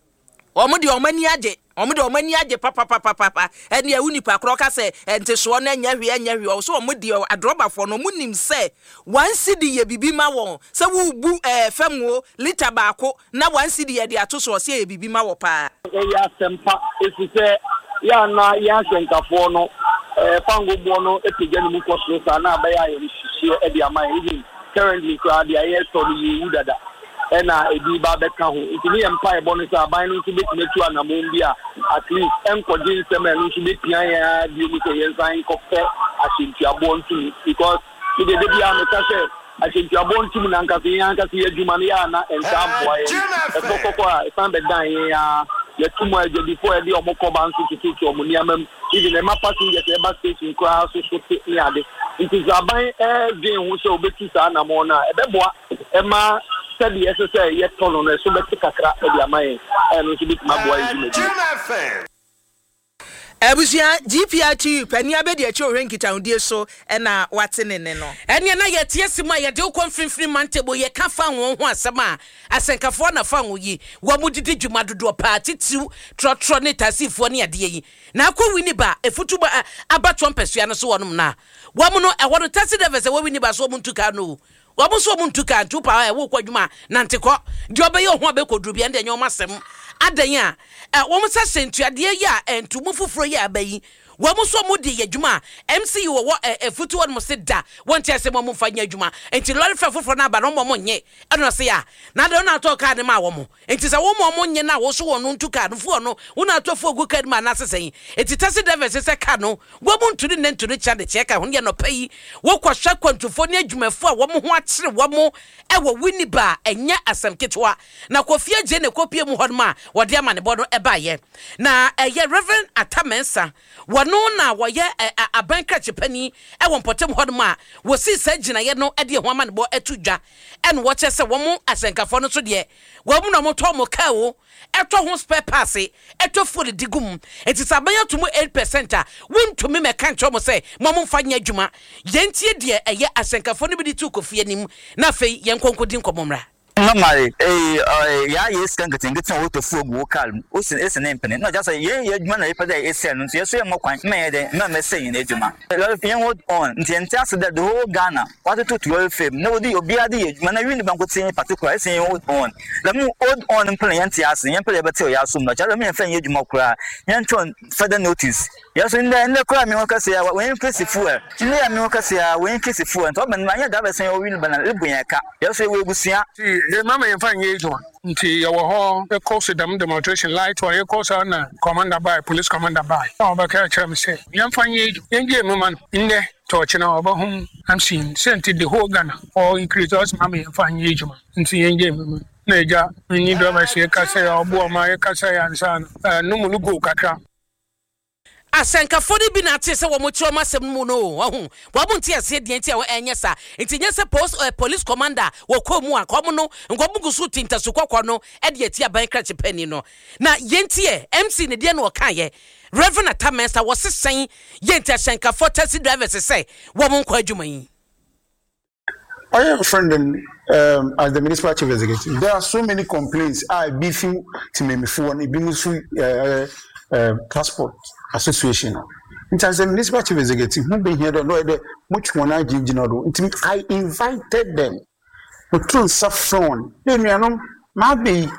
ɔmo de ɔmo ani agye ɔmo de ɔmo ani agye papa papa papa ɛne ɛwu nipa korɔ ka sɛ ɛntesoɔ no ɛnyɛ hwee ɛnyɛ hwee ɔso ɔmo de adrɔbafoɔ no ɔmo nim sɛ one cedi yɛ bibi ma wɔn sɛ wubu ɛɛ fam wo lita baako na one cedi yɛ de ato so ɔsɛ yɛ bibi ma wɔ paa. Ɛyɛ asɛmpa esi sɛ yɛ ana yɛ asɛnkafoɔ no ɛɛ fango boɔ no epagya ne mu kɔ soro saa na abɛyɛ ayɛ nhyehyɛ ɛde ama yɛn even currently koraa deɛ ayɛ tɔ no yɛ ewu dada. Ɛna ebi ba bɛka ho nti ne yɛ mpa ɛbɔ no sɛ aban no nso bɛtumi atu anammɔn bi a at least ɛnkɔgye nsɛm a ɛno nso bɛpia yɛn ara bio mu sɛ yɛnsan nkɔpɛ ahyɛntuaboɔ ntom because ne deɛ da biara meka sɛ ahyɛntuaboɔ ntom na ankasa yɛn ankasa yɛ adwuma no yɛ ana ɛntaa mmoa yɛn ɛtɔ kɔkɔ a ɛsan bɛdan yɛn a yɛto mu a adwadifoɔ a yɛde ɔmo kɔba nso tututu ɔmo nneɛma mu even ɛma passengers ɛba station koraa so so te ne ade nti sɛ aban ɛɛdwen ho sɛ obɛtu saa anammɔn no a ɛbɛboa ɛma sɛdeɛ ɛsɛ sɛ yɛtɔ no no ɛso bɛte kakra ɛde ama yɛn ɛno nso bɛtumi aboa yɛn dwumadi. Abusua G P R T U panin abɛdi akyi ohwɛ nkitahodie so ɛna wate ne ne no. Ɛneɛ na yɛte asi mu a yɛde wokɔ mfimfini mantebo yɛka fa wɔn ho asɛm a asɛnkafoɔ na fa wɔn yi wɔn mu didi dwuma dodoɔ paa titiw trɔtrɔ ne taasifoɔ ne adeɛ yi na akɔ Winneba efutu ba abatoɔ mpɛsua no so wɔnom na wɔn no ɛhɔ no taxi drivers ɛwɔ Winneba so wɔn ntu kaa no wɔn nso wɔn ntu kaa ntu paa ɛwɔ kɔ adwuma nante kɔ deɛ ɔbɛyɛ ɔho abɛkɔ duru bi ɛnde ɛnyɛ wɔn asɛm adan a wɔn sɛ sɛntuadeɛ yi a ntumu foforɔ yi a aba yi wɔn nso wɔn de yɛ adwuma M C U wɔ ɛfutu wɔn mo se da wɔn ti ase wɔn mfa nyɛ adwuma nti lɔri fɛ foforɔ n'aba na wɔn wɔn nyɛ ɛna ɔse ya na de wɔn atɔ kaa ne ma wɔn nti sɛ wɔn wɔn nyɛ na wɔso wɔn ntu kaa no fuo no wɔn atɔ fuo gu kaa no mu anaasɛ sɛn nti taxi drivers sɛ kaa no wɔn ntu ne ne ntu ne kyɛ de kyɛ kaa ho yɛ nɔpɛ yi wɔkɔ hwɛ kwantufoɔ ne adwumafoɔ a wɔn ho akyere wɔn ɛwɔ Winneba ɛnyɛ asɛm ketewa na Kofi Agye ne kopie mu hɔ nom a wɔde ama ne bɔ no ɛbaayɛ na ɛyɛ Reverend Atamensa wɔno na wɔyɛ aban krakye pani ɛwɔ mpɔtam hɔ nom a wɔsi saa gyinaeɛ no ɛde ɛho ama ne bɔ ɛto dwa ɛna wɔkyɛ sɛ wɔn asɛnkafoɔ no so deɛ wɔn na wɔtɔ wɔn kaa o ɛtɔ ho spare parts ɛtɔ fuel di gu mu nti sɛ aban ato mu eight percent a wɔntumi mɛka nkyɛn wɔn sɛ mo mo mfa nyɛ adwuma yɛntie deɛ ɛyɛ asɛnkafoɔ no bi de tu Kofi anim na afei yɛn nkonko di nkɔmɔ mmra. Normally, eh, ya yes kan ketenkete a woto fuo gu wo car mu o sin esi ne mpene na just ye ye adwuma na yɛpɛ dɛ esɛ no nso yɛso yɛ mmɔ kwan ma yɛ dɛ ma mɛsɛ yɛn adwuma yɛn hold on nti yɛnte ase dɛ the whole Ghana watoto to lorry fame na wodi obiara de yɛ adwuma na Winneba nkotsee particular esi yɛn hold on dɛm hold on mpene yɛnte ase yɛn pɛ dɛ yɛbɛte ɔyɛ asom na kyerɛ dɛ yɛmfa nyɛ adwuma koraa yɛntwɛn further notice yɛso ndɛ ndɛ koraa mi ho kɛse a wɔn increase fuel ndɛ a mi ho kɛse a wɔn increase fuel nti ɔbɛn ma nyɛ drivers yɛn wɔ Winneba na lebu yɛn ka yɛso yɛwɔ ebusua. De mama yɛmfa nyɛ adwuma nti yɛwɔ hɔ yɛkɔ so dɛm demonstration light wɔ yɛkɔ so na commander by police commander by na ɔbɛka kyerɛ me sɛ yɛmfa nyɛ adwuma yɛngye mu ma no ndɛ tɔɔkye na ɔbɛho M C sɛ nti the whole Ghana ɔ increase ɔsɛ mama yɛmfa nyɛ adwuma nti yɛngye mu ma na agya menni drivers yɛka sɛ ɔboɔ ma yɛka sɛ yɛansa no no mu no go kakra. Asɛnkafoɔ no bi na ate sɛ wɔn kyerɛ wɔn asɛm no mu no o, wahu. Wɔn nte aseɛ deɛ nti a ɛnyɛ saa. Nti nyɛ sɛ post, eh, police commander wɔkɔɔ mu a, nka wɔn no, nka wɔn gu so ti ntasu kɔkɔɔ no de atia aban krakye panin no. Na yɛnti ɛ, M C ne deɛ na ɔkaeɛ. Reverend Atta Mensah, wɔse sɛn yɛ nti ahyɛnkafoɔ taxi drivers sɛ wɔn nkɔ adwuma yi? I am friend um, as the municipal chief executive. There are so many complaints. A ebi fi tìmɛmifoɔ no, ebi nso uh, uh, transport association no. Nti as the municipal chief executive, ho behia dɛ no yɛ dɛ motwe wɔn agyinagyina do. Nti I invited them. Moto nsa frɛ wɔn. Dɛ nuanom, maa bɛ yi,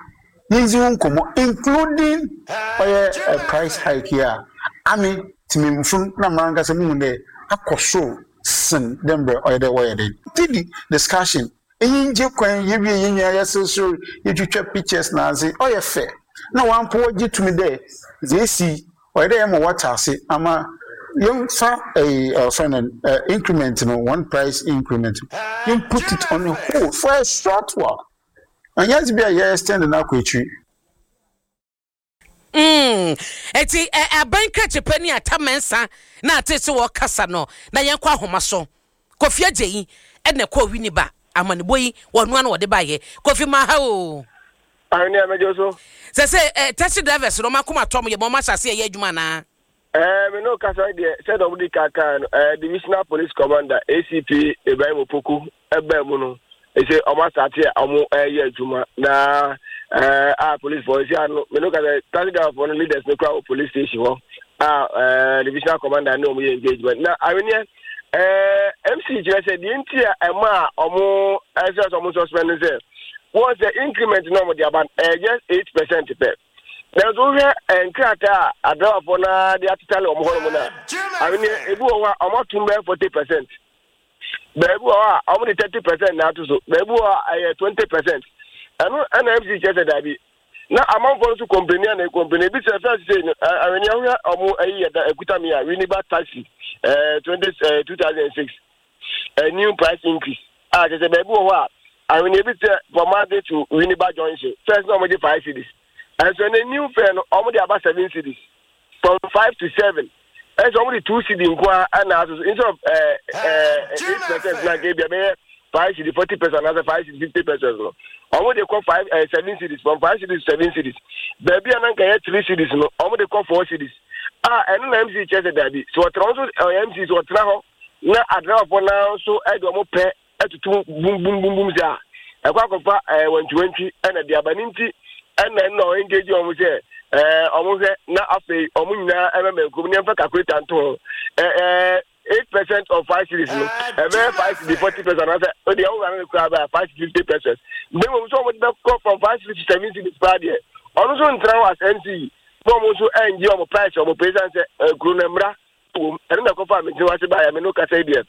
yɛndzi ho nkɔmmɔ, including ɔyɛ uh, price hike yi a ame tìmɛmifo na mmara nkasa mu hu dɛ akɔ soro sen dɛ mbrɛ ɔyɛ dɛ wɔyɛ dɛ. Didi discussion eyi ngye kwan, yɛwie, yɛn nyinaa yɛseresere, yɛtwitwa pictures na ase ɔyɛ fɛ na wampo wɔgye tumi dɛ dze esi ɔyɛ dɛ yɛma wɔte ase ama yɛmfa ɛyi ɔfrɛ no ɛ increment no, one price increment, yɛn put it on a hold for a short while. Ɛnyɛ dze bi a yɛ extend no akɔ akyiri. Mm. Eti ɛ aban krakye pani Atta Mensah na ate sɛ wɔkasa no. Na yɛnkɔ ahoma so. Kofi Agye yi ɛna ɛkɔ Winneba amanebɔ yi wɔnoa no wɔde baayɛ. Kofi, maha o. Ahene amegye so. Sɛ sɛ ɛ taxi drivers no ɔmo akoma tɔm yɛ ma ɔmo ahyɛ ase ɛyɛ adwuma anaa? Ɛɛ me no kasa deɛ, sɛdeɛ ɔmo di kankan no, ɛɛ divisional police commander A C P Ibrahim Opoku ɛbɛn mu no, ɛsɛ ɔmo asate a ɔmo ɛyɛ adwuma na ɛɛ a police fo esi ano. Me no kasa, taxi driver fo no leaders no kura wɔ police station hɔ a ɛɛ divisional commander ne ɔmo yɛ engagement. Na aweneɛ ɛɛ M C kyerɛ sɛ deɛ nti a ɛma a ɔmo ɛsɛ sɛ ɔmo suspend no sɛ wɔn sɛ increment na ɔmo de aba ɛyɛ just eight percent pɛ, nanso wohwɛ nkrataa a adrawafoɔ no de atetale wɔn hɔnom no a, aweneɛ, ebi wɔ hɔ a ɔmo atum bɛyɛ forty percent, baabi wɔ hɔ a ɔmo de thirty percent na ato so, baabi wɔ hɔ a ɛyɛ twenty percent. Ɛno ɛna M C kyerɛ sɛ daabi, na amanfoɔ nso complain a na complain ebi sɛ first say no aweneɛ, wohwɛ ɔmo ayi yɛ da ekuta mi a Winneba taxi ɛɛ twenty ɛɛ two thousand and six a new price increase a kyerɛ sɛ baabi wɔ hɔ a, aweneɛ, bi sɛ Pomade to Winneba Junction, first na ɔmo gye five cedis, ɛnso ne new fare no ɔmo de aba seven cedis, from five to seven. Ɛnso ɔmo de two cedi nko a ɛna aso so instead of ɛɛ ɛɛ eight percent na nka ebi ɛbɛyɛ five cedi forty percent anaasɛ five cedi fifty percent no, ɔmo de kɔ five ɛɛ seven cedis, from five cedis to seven cedis. Baabi a na nka yɛ three cedis no, ɔmo de kɔ four cedis a ɛno na M C kyerɛ sɛ daabi, so ɔtena nso ɔyɛ M C so ɔtena hɔ na adrawafoɔ naa nso ɛde ɔmo pɛ ɛtutu bum bum bum bum sɛ a ɛkɔ akɔfa ɛɛ wantwiwantwi ɛna de aba ne nti ɛna ɛna ɔyɛ engage wɔn sɛ ɛɛ ɔmo hwɛ na afei ɔmo nyinaa ɛmɛmɛ nkurom ne ɛmfa calculator nto ho. ɛɛ ɛɛ eight percent of five cedis no ɛbɛyɛ five cedi forty percent anaasɛ o deɛ ɔwura no kura bɛyɛ five cedi fifty percent. Mbɛ wɔn nso ɔmo de bɛkɔ from five cedis to seven cedis paa deɛ, ɔno nso ntena hɔ as M C na ɔmo nso ɛngye ɔmo price ɔmo pɛ san sɛ ɛkuro no mmra wɔm. Ɛno na ɛkɔfa mi ntina wase baayɛ. Mi no kasa yi deɛ,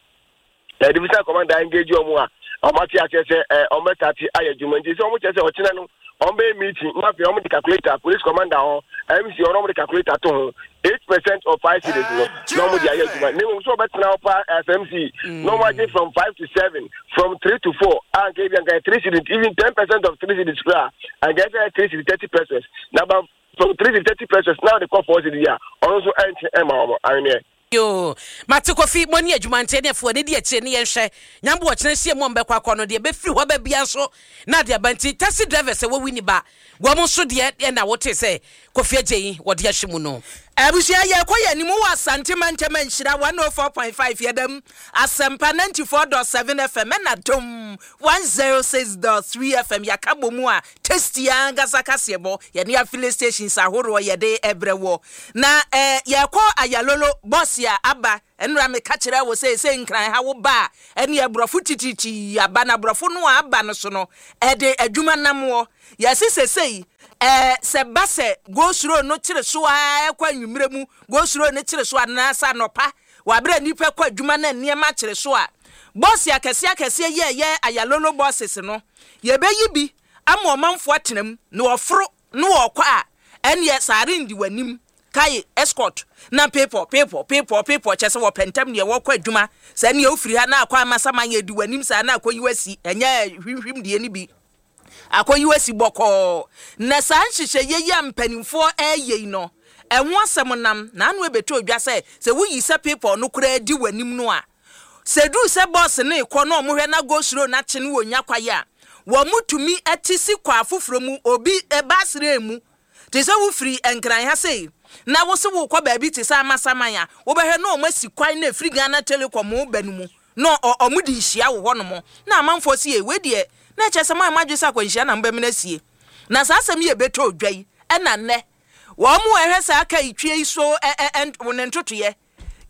ɛɛ division commander engage ɔmo a ɔmo ate aseɛ sɛ ɛɛ ɔmo bɛ start ayɛ adwuma. Nti sɛ ɔmo kyerɛ sɛ ɔkyerɛ no ɔmo bɛyɛ meeting na afei ɔmo de calculator, police commander hɔ, M C ɔno ɔmo de calculator to ho eight percent of five cedis no na ɔmo de ayɛ adwuma. Ne mu nso ɔbɛtena hɔ pa as M C na ɔmo agye from five to seven, from three to four a nka ebi nka three cedis, even ten percent of three cedis kura nka ɛsɛ three cedis thirty percent na ba from three cedis thirty percent na ɔde kɔ four cedis a, ɔno nso ɛnkyɛn ɛma ɔmo aweneɛ. Yo, mate Kofi, mo ne adwuma nti ne afoɔ ne di akyire ne yɛnhwɛ Nyambo ɔkyena hyia mu a mbɛkɔ akɔ no deɛ bɛfiri hɔ baabia nso na ade aba. Nti taxi driver sɛ wɔwi ni ba wɔn nso deɛ ɛna wote sɛ Kofi Agye yi wɔde ahyɛ mu no. Abusua, yɛkɔ yɛ anim wɔ Asante mantam. Nhyira one oh four point five yɛdam, Asɛmpa ninety-four point seven F M ɛna Dom one oh six point three F M. Yɛaka bɔ mu a tasty ankasa kaseɛbɔ yɛne affiliate stations ahoroɔ yɛde ɛbrɛ wɔ na eh, yɛkɔ Ayalolo bɔs a aba. Ɛnura meka kyerɛ wo sɛ sɛ Nkran ha wo ba a, ɛne aborɔfo tititi aba na aborɔfo no a aba no so no ɛde adwuma nam wɔ yɛse sesei ɛɛ sɛ ba sɛ go slow no kyere so a ɛkɔ anwummerɛ mu, go slow no kyere so anaasɛ anɔpa wabere nipa kɔ adwuma na nneɛma kyere so a, bɔɔse akɛseɛ akɛseɛ yɛ ɛyɛ Ayalolo buses no, yɛbɛyi bi ama ɔmanfoɔ atena mu na wɔforo na wɔkɔ a, ɛneɛ saare ndi w'anim kae escort na pepɔ pepɔ pepɔ pepɔ kyɛ sɛ wɔpɛ ntɛm deɛ wɔkɔ adwuma sɛ neɛ wofiri ha na akɔ Amasaman, yɛ di w'anim saa na akɔyi wasi, ɛnyɛ hwimhwim deɛ no bi akɔyi wasi bɔkɔɔ. Na saa nhyehyɛeɛ yi a mpanimfoɔ ɛreyɛ yi no, Ɛho asɛm nam na ano ɛbɛtɔ odwa sɛ sɛ woyi sɛ people no koraa di w'anim no a, sɛ duru sɛ bɔs no rekɔ na ɔmo hwɛ na go slow na kye no wɔ nya kwaeɛ a, wɔn mo tumi ɛte si kɔ afoforɔ mu obi ɛbaasere mu te sɛ wofiri Nkran ha sei na wo se wokɔ baabi te sɛ Amasaman a, wobɛhwɛ na ɔmo asi kwan na efiri Ghana Telecom ba no mu na ɔmo de nhyia wɔ hɔnom na amanfoɔ si yɛ wei deɛ na ɛkyɛ sɛ mo a mo adwe sɛ akwanhyia na mobɛmena asie. Na saa asɛm yi ɛbɛtɔ odwa yi, ɛna nnɛ wɔn mo ɛhwɛ saa aka itwie yi so ɛ ɛ ɛ ne ntotoyɛ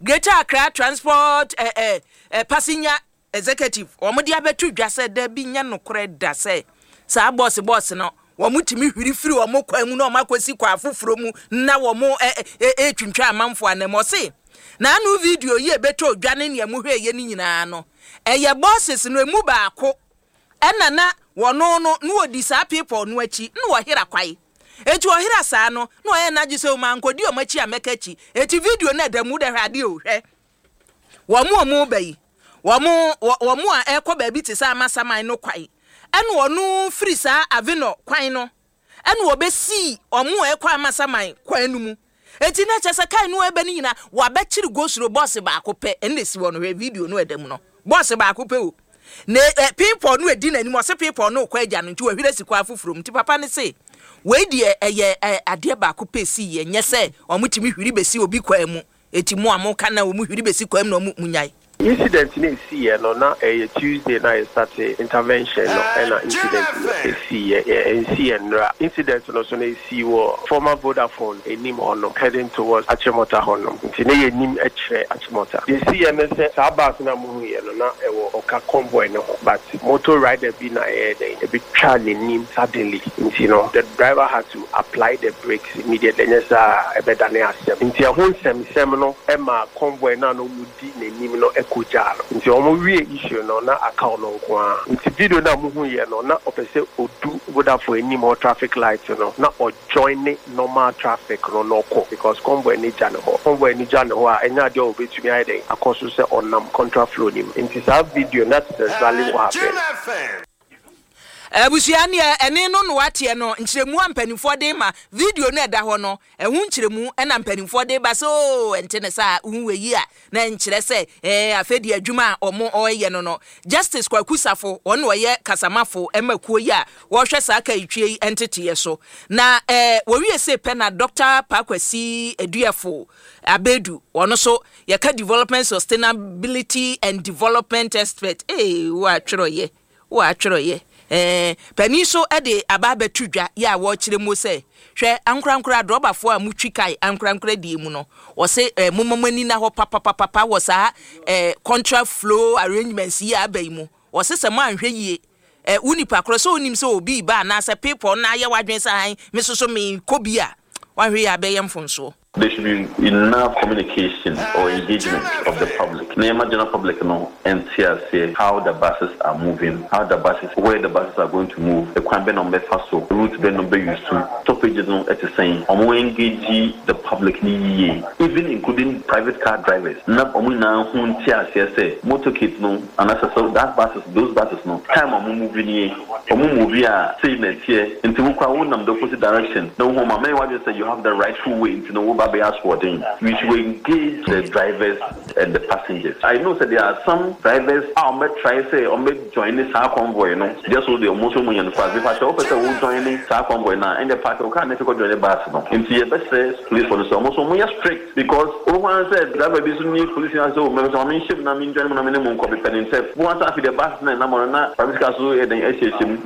Greater Accra Transport ɛ ɛ ɛ Passenger Executive wɔn de abɛto dwa sɛ dabi, nyɛ nokorɛ da sɛ saa bɔɔse bɔɔse no wɔn tumi hwiri firi wɔn kwan mu na wɔn akɔsi kwan afoforɔ mu na wɔn ɛ ɛ ɛtwintwa amanfoɔ anam. Ɔse na ano video yi ɛbɛtɔ odwa ne nea mo hwɛ yɛ no nyinaa no, ɛyɛ bɔɔses no emu baako ɛna na wɔn no na wɔdi saa people no akyi na wɔhera kwae. Eti ɔhera saa no na ɔyɛ n'agye sɛ ɔmo ankɔdi ɔmo akyi a mɛka akyi. Eti video no ɛda mu dɛ, hwɛ adeɛ o, hwɛ wɔn a wɔn ba yi, wɔn wɔn a ɛkɔ baabi te sɛ Amasaman no kwan, ɛna ɔno firi saa Avenor kwan no ɛna wɔbɛsii wɔn a ɛkɔ Amasaman kwan no mu. Eti na kyerɛ sɛ kaa no ɛbɛ no nyinaa wabɛkyere gosuro bɔɔse baako pɛ ɛna esi hɔ no. Hwɛ video no ɛda mu no, bɔɔse baako pɛ o, na ɛ people no edi n'anim. Ɔsɛ people no kɔ agya no nti wɔhwere si kwan foforɔ mu. Nti papa ne se wei deɛ ɛyɛ ɛ adeɛ baako pɛ si yɛ, nyɛ sɛ wɔn tumi hwiri bɛsi obi kwan mu. Eti mu a mo ka na wɔn hwiri bɛsi kwan mu na wɔn mu nyae. Incident no esiiɛ no, na ɛyɛ Tuesday na yɛ start intervention no, ɛna incident no esiiɛ. Ɛnsiiɛ nnora. Incident no so no esii wɔ former Vodafone anim hɔnom, heading towards Achimota hɔnom, nti ne yɛ nim kyerɛ Achimota. Deɛ esiiɛ no sɛ saa bus no a muhuiɛ no, na ɛwɔ ɔka convoy no ho, but motor rider bi na ɛyɛ dɛn ebitwa n'anim suddenly, nti no the driver had to apply the brakes immediately, ɛnyɛ saa ɛbɛdane asɛm. Nti ɛho nsɛmsɛm no ɛma convoy no a na ɔmo di n'anim no ɛkɔgyaa no, nti ɔmo wie issue no na aka ɔno nko ara. Nti video no a muhu yɛ no, na ɔpɛ sɛ odu Vodafone anim hɔ traffic light no na ɔjoin ne normal traffic no na ɔkɔ, because convoy no gya ne hɔ. Convoy no gya ne hɔ a, ɛnyɛ adeɛ a obetumi ayɛ dɛn akɔ so sɛ ɔnam contraflow nim. Nti saa video, that is exactly what happened. Abusua, neɛ ɛne no no wateɛ no, nkyerɛmu a mpanimfoɔ de ma video no ɛda hɔ no, ɛho nkyerɛmu ɛna mpanimfoɔ de ba sɛ oo, ɛnte ne saa wohu wɔ yi a na nkyerɛ sɛ ɛɛ afei deɛ adwuma a ɔmo ɔreyɛ no no Justice Kwaku Safo, ɔno ɔyɛ kasamafo ɛma kuo yi a wɔrehwɛ saa kaitwie yi nteteɛ so. Na ɛɛ wɔwie se pɛ na Doctor Paakwasi Eduafo Abedu, ɔno so yɛka development, sustainability and development expert. Ee, wɔatwerɛyɛ wɔatwerɛyɛ ɛɛ panin so de aba abɛto dwa yɛ a wɔrekyerɛ mu sɛ, hwɛ, ankorankora adrɔbafoɔ a mutwi kae ankorankora die mu no, wɔse ɛɛ momma mo ani na hɔ papapapa wɔ saa ɛɛ contra flow arrangements yi a aba yi mu. Wɔse sɛ mo anhwɛ yie, ɛ wo nipa korɔ sɛ onim sɛ obi ba anaasɛ people na ayɛ wadwene sɛ ahan me soso me kɔ bi a, wahwɛ yie abɛyɛ mfonsoɔ. There should be enough communication or engagement of the public. Na yɛma general public no nte aseɛ how the buses are moving, how the buses, where the buses are going to move, ɛkwan bɛ na ɔmbɛfa so, route bɛ na ɔmbɛ use to, stoppages no ɛte sɛn. Ɔmo engage the public ni yie, even including private car drivers. Na ɔmo nyinaa ho nte aseɛ sɛ motorcade no anaasɛ so that buses, those buses no, time a ɔmo move nie, ɔmo move a sei na ɛteɛ. Nti wo koraa wonam the opposite direction na wohu ɔmo a, mɛyɛ w'adwene sɛ you have the rightful way nti no wo ba bɛyɛ asoɔden. We should engage the drivers and the passengers. I know that there are some drivers a ɔmo try sɛ ɔmo join saa convoy no just so de ɔmo nso mo yɛn fast because sɛ wopɛ sɛ wo join saa convoy na ɛnna park wo car ne fi kɔ join bus no. Nti yɛbɛsrɛ police for no sɛ ɔmo nso ɔmo yɛ strict, because wɔn kwan sɛ driver bi nso nye police na sɛ o mɛ sɛ ɔmo nhyɛ mu na mi join mu na mi ne mu nkɔ pepɛ ne ntɛm wɔn asa afi the bus na ɛnam ɔno na private car so yɛ den ɛhyɛ mu.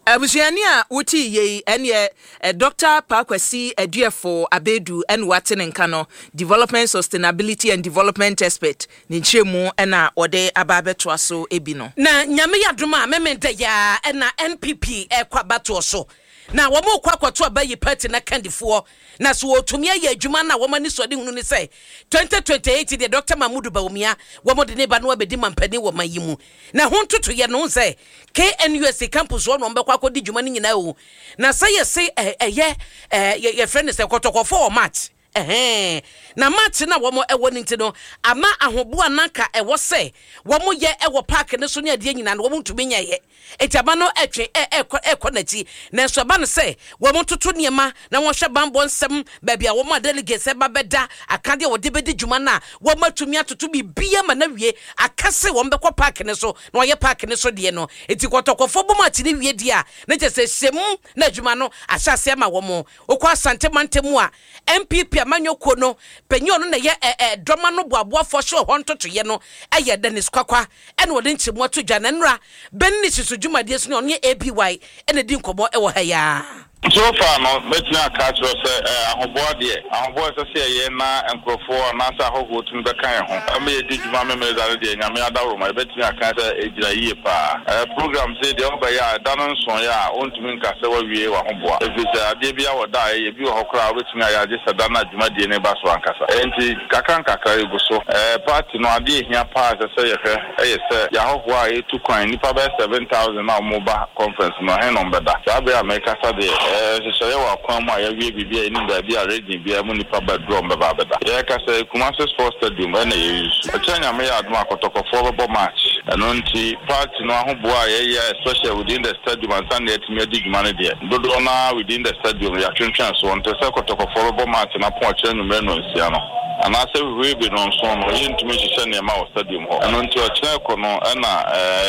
Abusuani a wote yei ɛneɛ ɛ Doctor Paakwasi Aduafo Abedu ɛna wate ne nka no, development, sustainability and development expert, ne nkyerɛmu ɛna wɔde aba abɛtoa so ebi no. Na Nyame yɛ adom a, Memenda yaa ɛna N P P ɛkɔ abatoɔ so na wɔn kɔ akɔto aba yi party na kandifoɔ na so wɔtumi ayɛ adwuma no a wɔn ani sɔde hunu ne sɛ twenty twenty-eight deɛ, Doctor Mahmudu Bawumia wɔn de ne ba no abɛdi mampanin wɔ man yi mu. Na ho ntotoyɛ no sɛ K N U S T campus hɔ na wɔn bɛkɔ akɔdi dwuma no nyinaa o. Na sɛ yɛse ɛyɛ ɛyɛ yɛfrɛ no sɛ Kɔtɔkɔfo wɔ match Ɛhɛn, na match no a wɔn ɛwɔ no nti no, ama ahoboa no anka ɛwɔ sɛ wɔn yɛ ɛwɔ park no so ne adeɛ nyinaa no, wɔn ntumi nyɛeɛ. Enti aba no ɛtwe ɛ ɛkɔ ɛkɔ n'akyi. Nanso ɛba no sɛ wɔn ntoto nneɛma na wɔhwɛ banbɔ nsɛm, baabi a wɔn a delegates ɛba bɛda, akadeɛ a wɔde bɛdi dwuma no a, wɔn atumi atoto biribiara ma no awie, aka sɛ wɔn bɛkɔ park no so na wɔayɛ park no so deɛ no. Enti kɔtɔkɔfoɔ bɔ match no wie deɛ a, na kyerɛ sɛ hyɛmu na adwuma no ahyɛ aseɛ ama wɔn. Wokɔ Asante mantam a, NPP amanyɔ kuo no panyin a ɔno na ɛyɛ ɛ ɛ dɔm ano boaboafoɔ hyɛ hɔ ntotoeɛ no yɛ Dennis Kwakwa ɛna ɔde nkyerɛmu ato dwa na nnora bɛ ne susu dwumadie so ne ɔno ne A B Y ɛna ɛdi nkɔmmɔ ɛwɔ ha yi ara. So far no, mɛtumi aka akyerɛ wo sɛ ahoboa deɛ, ahoboa a ɛsɛ sɛ yɛyɛ na nkorɔfoɔ anaasɛ ahɔhoɔ tumi bɛka yɛn ho ma yɛdi dwuma Memeneda no deɛ, Nyame adaworoma, yɛbɛtumi aka sɛ ɛgyina yie paa. Program sei deɛ wobɛyɛ a, ɛda no nsoeɛ a, wontumi nka sɛ woawie w'ahoboa, ɛfiri sɛ adeɛ biara wɔ da a ɛyɛ, bi wɔ hɔ koraa a wobɛtumi ayɛ a gye sɛ da no a dwumadie no reba so ankasa. Enti kakra nkakra yɛgu so. Party no, adeɛ a ɛhia paa a ɛsɛ sɛ yɛhwɛ yɛ sɛ yɛn ahɔhoɔ a ɛretu kwan, nnipa bɛyɛ seven thousand a wɔreba conference no, ɛhe na wɔbɛda? Saa berɛ a merekasa deɛ, nhyehyɛeɛ wɔ akwan mu a yɛawie biribi a yɛnnim baabi a region biara mu nnipa ba duru a wɔbɛba abɛda. Yɛrekasa yi, Kumasi Sports Stadium na yɛ use. Ɔkyena Nyame yɛ adom a, Kɔtɔkɔfoɔ bɛbɔ match. Ɛno nti, party no ahoboa a yɛyɛ especially within the stadium ansa na yɛatumi adi dwuma no deɛ, dodoɔ no ara within the stadium yɛatwentwɛn soɔ. Nte sɛ Kɔtɔkɔfoɔ bɛbɔ match no apɔn ɔkyena anwummerɛ nnɔnsia no, anaasɛ huhuebe nnɔnson no, yɛntumi nhyehyɛ nneɛma wɔ stadium hɔ. Ɛno nti, ɔkyena rekɔ no na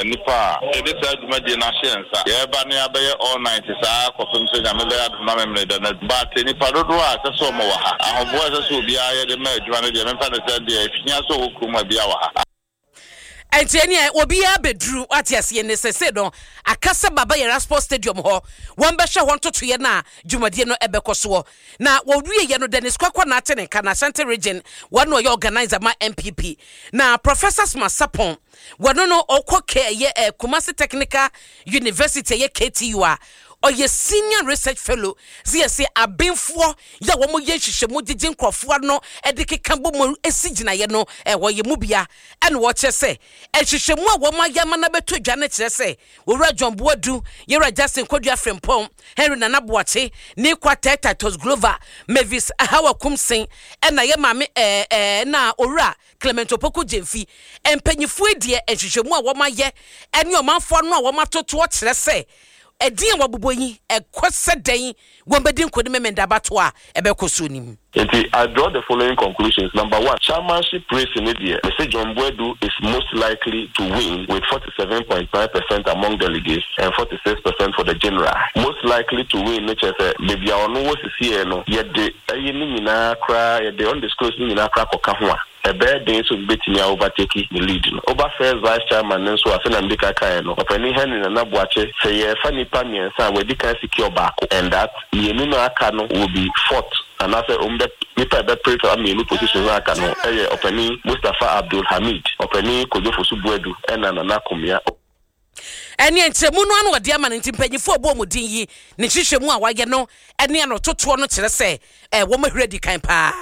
nnipa a yɛde saa dwumadie no ahyɛ yɛn nsa, yɛreba na yɛabɛyɛ all night saa kɔpem sɛ Nyame bɛyɛ adom na Memeneda no adu. But nnipa dodoɔ a ɛsɛ sɛ wɔn wɔ ha, ahoboa a ɛsɛ sɛ obiara yɛ de ma adwuma no deɛ, memfa no sɛ deɛ ɛhia sɛ ɔwɔ kurom a biara wɔ ha. Ɛnti ɛneɛ obiara bɛduru wate aseɛ ne sese no aka sɛ Baba Yara Sports Stadium hɔ wɔn bɛhwɛ hɔ ntotoeɛ no a dwumadie no ɛbɛkɔ soɔ. Na wɔwieɛ no, Dennis Kwakwa na ate ne nka na Ashanti Region wɔn na ɔyɛ organizer ma N P P, na Professor Smart Sarpong wɔno no ɔkɔ K ɛyɛ ɛ Kumasi Technical University, ɛyɛ K T U, a ɔyɛ senior research fellow sɛ yɛsɛ abenfoɔ yɛ a wɔn yɛ nhwehwɛmu gyegye nkurɔfoɔ ano de keka bɔ mu esi gyinaeɛ no, ɛwɔ yɛ mu bia ɛna wɔkyerɛ sɛ nhwehwɛmu a wɔn ayɛ ama no abɛto dwa no kyerɛ sɛ Owura John Boadu, Yɛwura Justin Kodua Frimpong, Henry Nana Boakye, Nii Kwartei Titus Glover, Mavis Hawa Koomson, ɛna yɛ maame ɛɛ ɛɛ na Owura Clement Opoku Gyemfi. Mpanyinfoɔ deɛ, nhwehwɛmu a wɔn ayɛ ɛne ɔmanfoɔ no a wɔn atotoɔ kyerɛ sɛ ɛdin a wɔabobɔ yi ɛkɔ sɛ dɛn wɔn bɛdi nkonim Memenda abato a ɛbɛkɔ so nim. Nti I draw the following conclusions. Number one, chairmanship race in India, Mister John Boadu is most likely to win with forty-seven point nine percent among delegates and forty-six percent for the general. Most likely to win, ne kyerɛ sɛ baabi a ɔno wɔ sisi no, yɛde ɛyi ne nyinaa koraa, yɛde undisclosed ne nyinaa koraa kɔka ho a, ɛbɛyɛ den sɛ obi bɛtumi a overtake ne lead no. Over first vice chairman no nso a, sɛnea mede kakaeɛ no, Ɔpanin Henry Nana Boakye, sɛ yɛfa nnipa mmiɛnsa a wɔadi kan secure baako and that mmienu no aka no will be fourth anaasɛ ɔmo bɛ nipa a ɛbɛpere saa mmienu position no aka no ɛyɛ Ɔpanin Mustapha Abdul Hamid, Ɔpanin Kojo Fosu Boadu ɛna Nana Komia. Ɛne nkyerɛmu no ano ɔde ama no nti mpanyinfoɔ ɔbɔ ɔmo din yi ne nhyehyɛmu a wayɛ no ɛne ano totoɔ no kyerɛ sɛ ɛɛ wɔn ahwere di kan paa.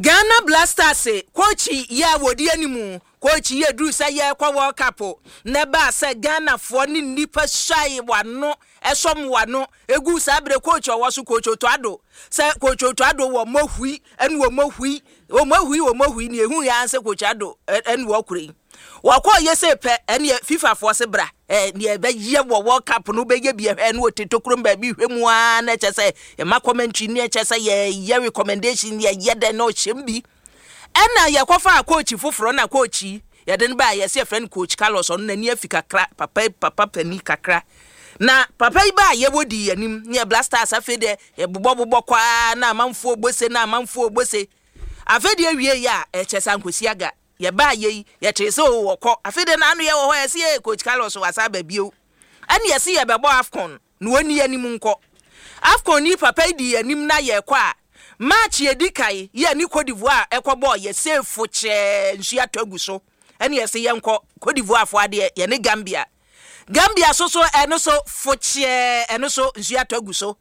Ghana Black Stars coach yi a wɔdi anim, coach yi eduru sɛ yɛrekɔ World Cup na ɛbaa sɛ Ghanafoɔ ne nnipa suae wano ɛsɔm wano egu saa abere coach ɔwɔ so, Coach Otto Addo, sɛ Coach Otto Addo wɔ mɔhui ɛne wɔ mɔhui wɔ mɔhui wɔ mɔhui ne ehu yɛn sɛ Coach Addo ɛne wɔ kure yi wɔkɔ yɛ sɛ pɛ ɛne FIFA foɔ se bra ɛɛ nea ɛbɛyɛ wɔ World Cup no bɛyɛ bi ɛhwɛ no wɔte tokurom baabi hwɛ mu aa na ɛkyɛ sɛ ɛma commentary ne ɛkyɛ sɛ yɛyɛ recommendation, yɛyɛ dɛ na ɔhyɛm bi. Ɛna yɛkɔfa coach foforɔ na coach yi yɛde no baa yɛsɛ yɛfrɛ no Coach Carlos. Ɔno n'ani afi kakra, papa papa pani kakra na papa yi baa yɛwɔ di anim ne yɛ Black Stars. Afei deɛ yɛbobɔbobɔ kwaa na amanfoɔ bose na amanfoɔ bose. Afei deɛ awie yi a ɛkyɛ sɛ ankosi aga yɛbaa yɛ yi yɛkyerɛ sɛ o wɔkɔ. Afei deɛ n'ano yɛ wɔ hɔ yɛsi yɛ Coach Carlos wasa aba bio ɛne yɛsi yɛbɛbɔ AFCON na wɔni anim nkɔ AFCON ni. Papa yi di anim na yɛkɔ a match yɛdi kae yɛ ne Cote d'Ivoire ɛkɔbɔ yɛ sefo kyɛɛ nsuo atɔ agu so ɛne yɛsi yɛnkɔ Cote d'Ivoire fo adeɛ yɛne Gambia. Gambia so so ɛno so fo kyɛɛ ɛno so nsuo atɔ agu so.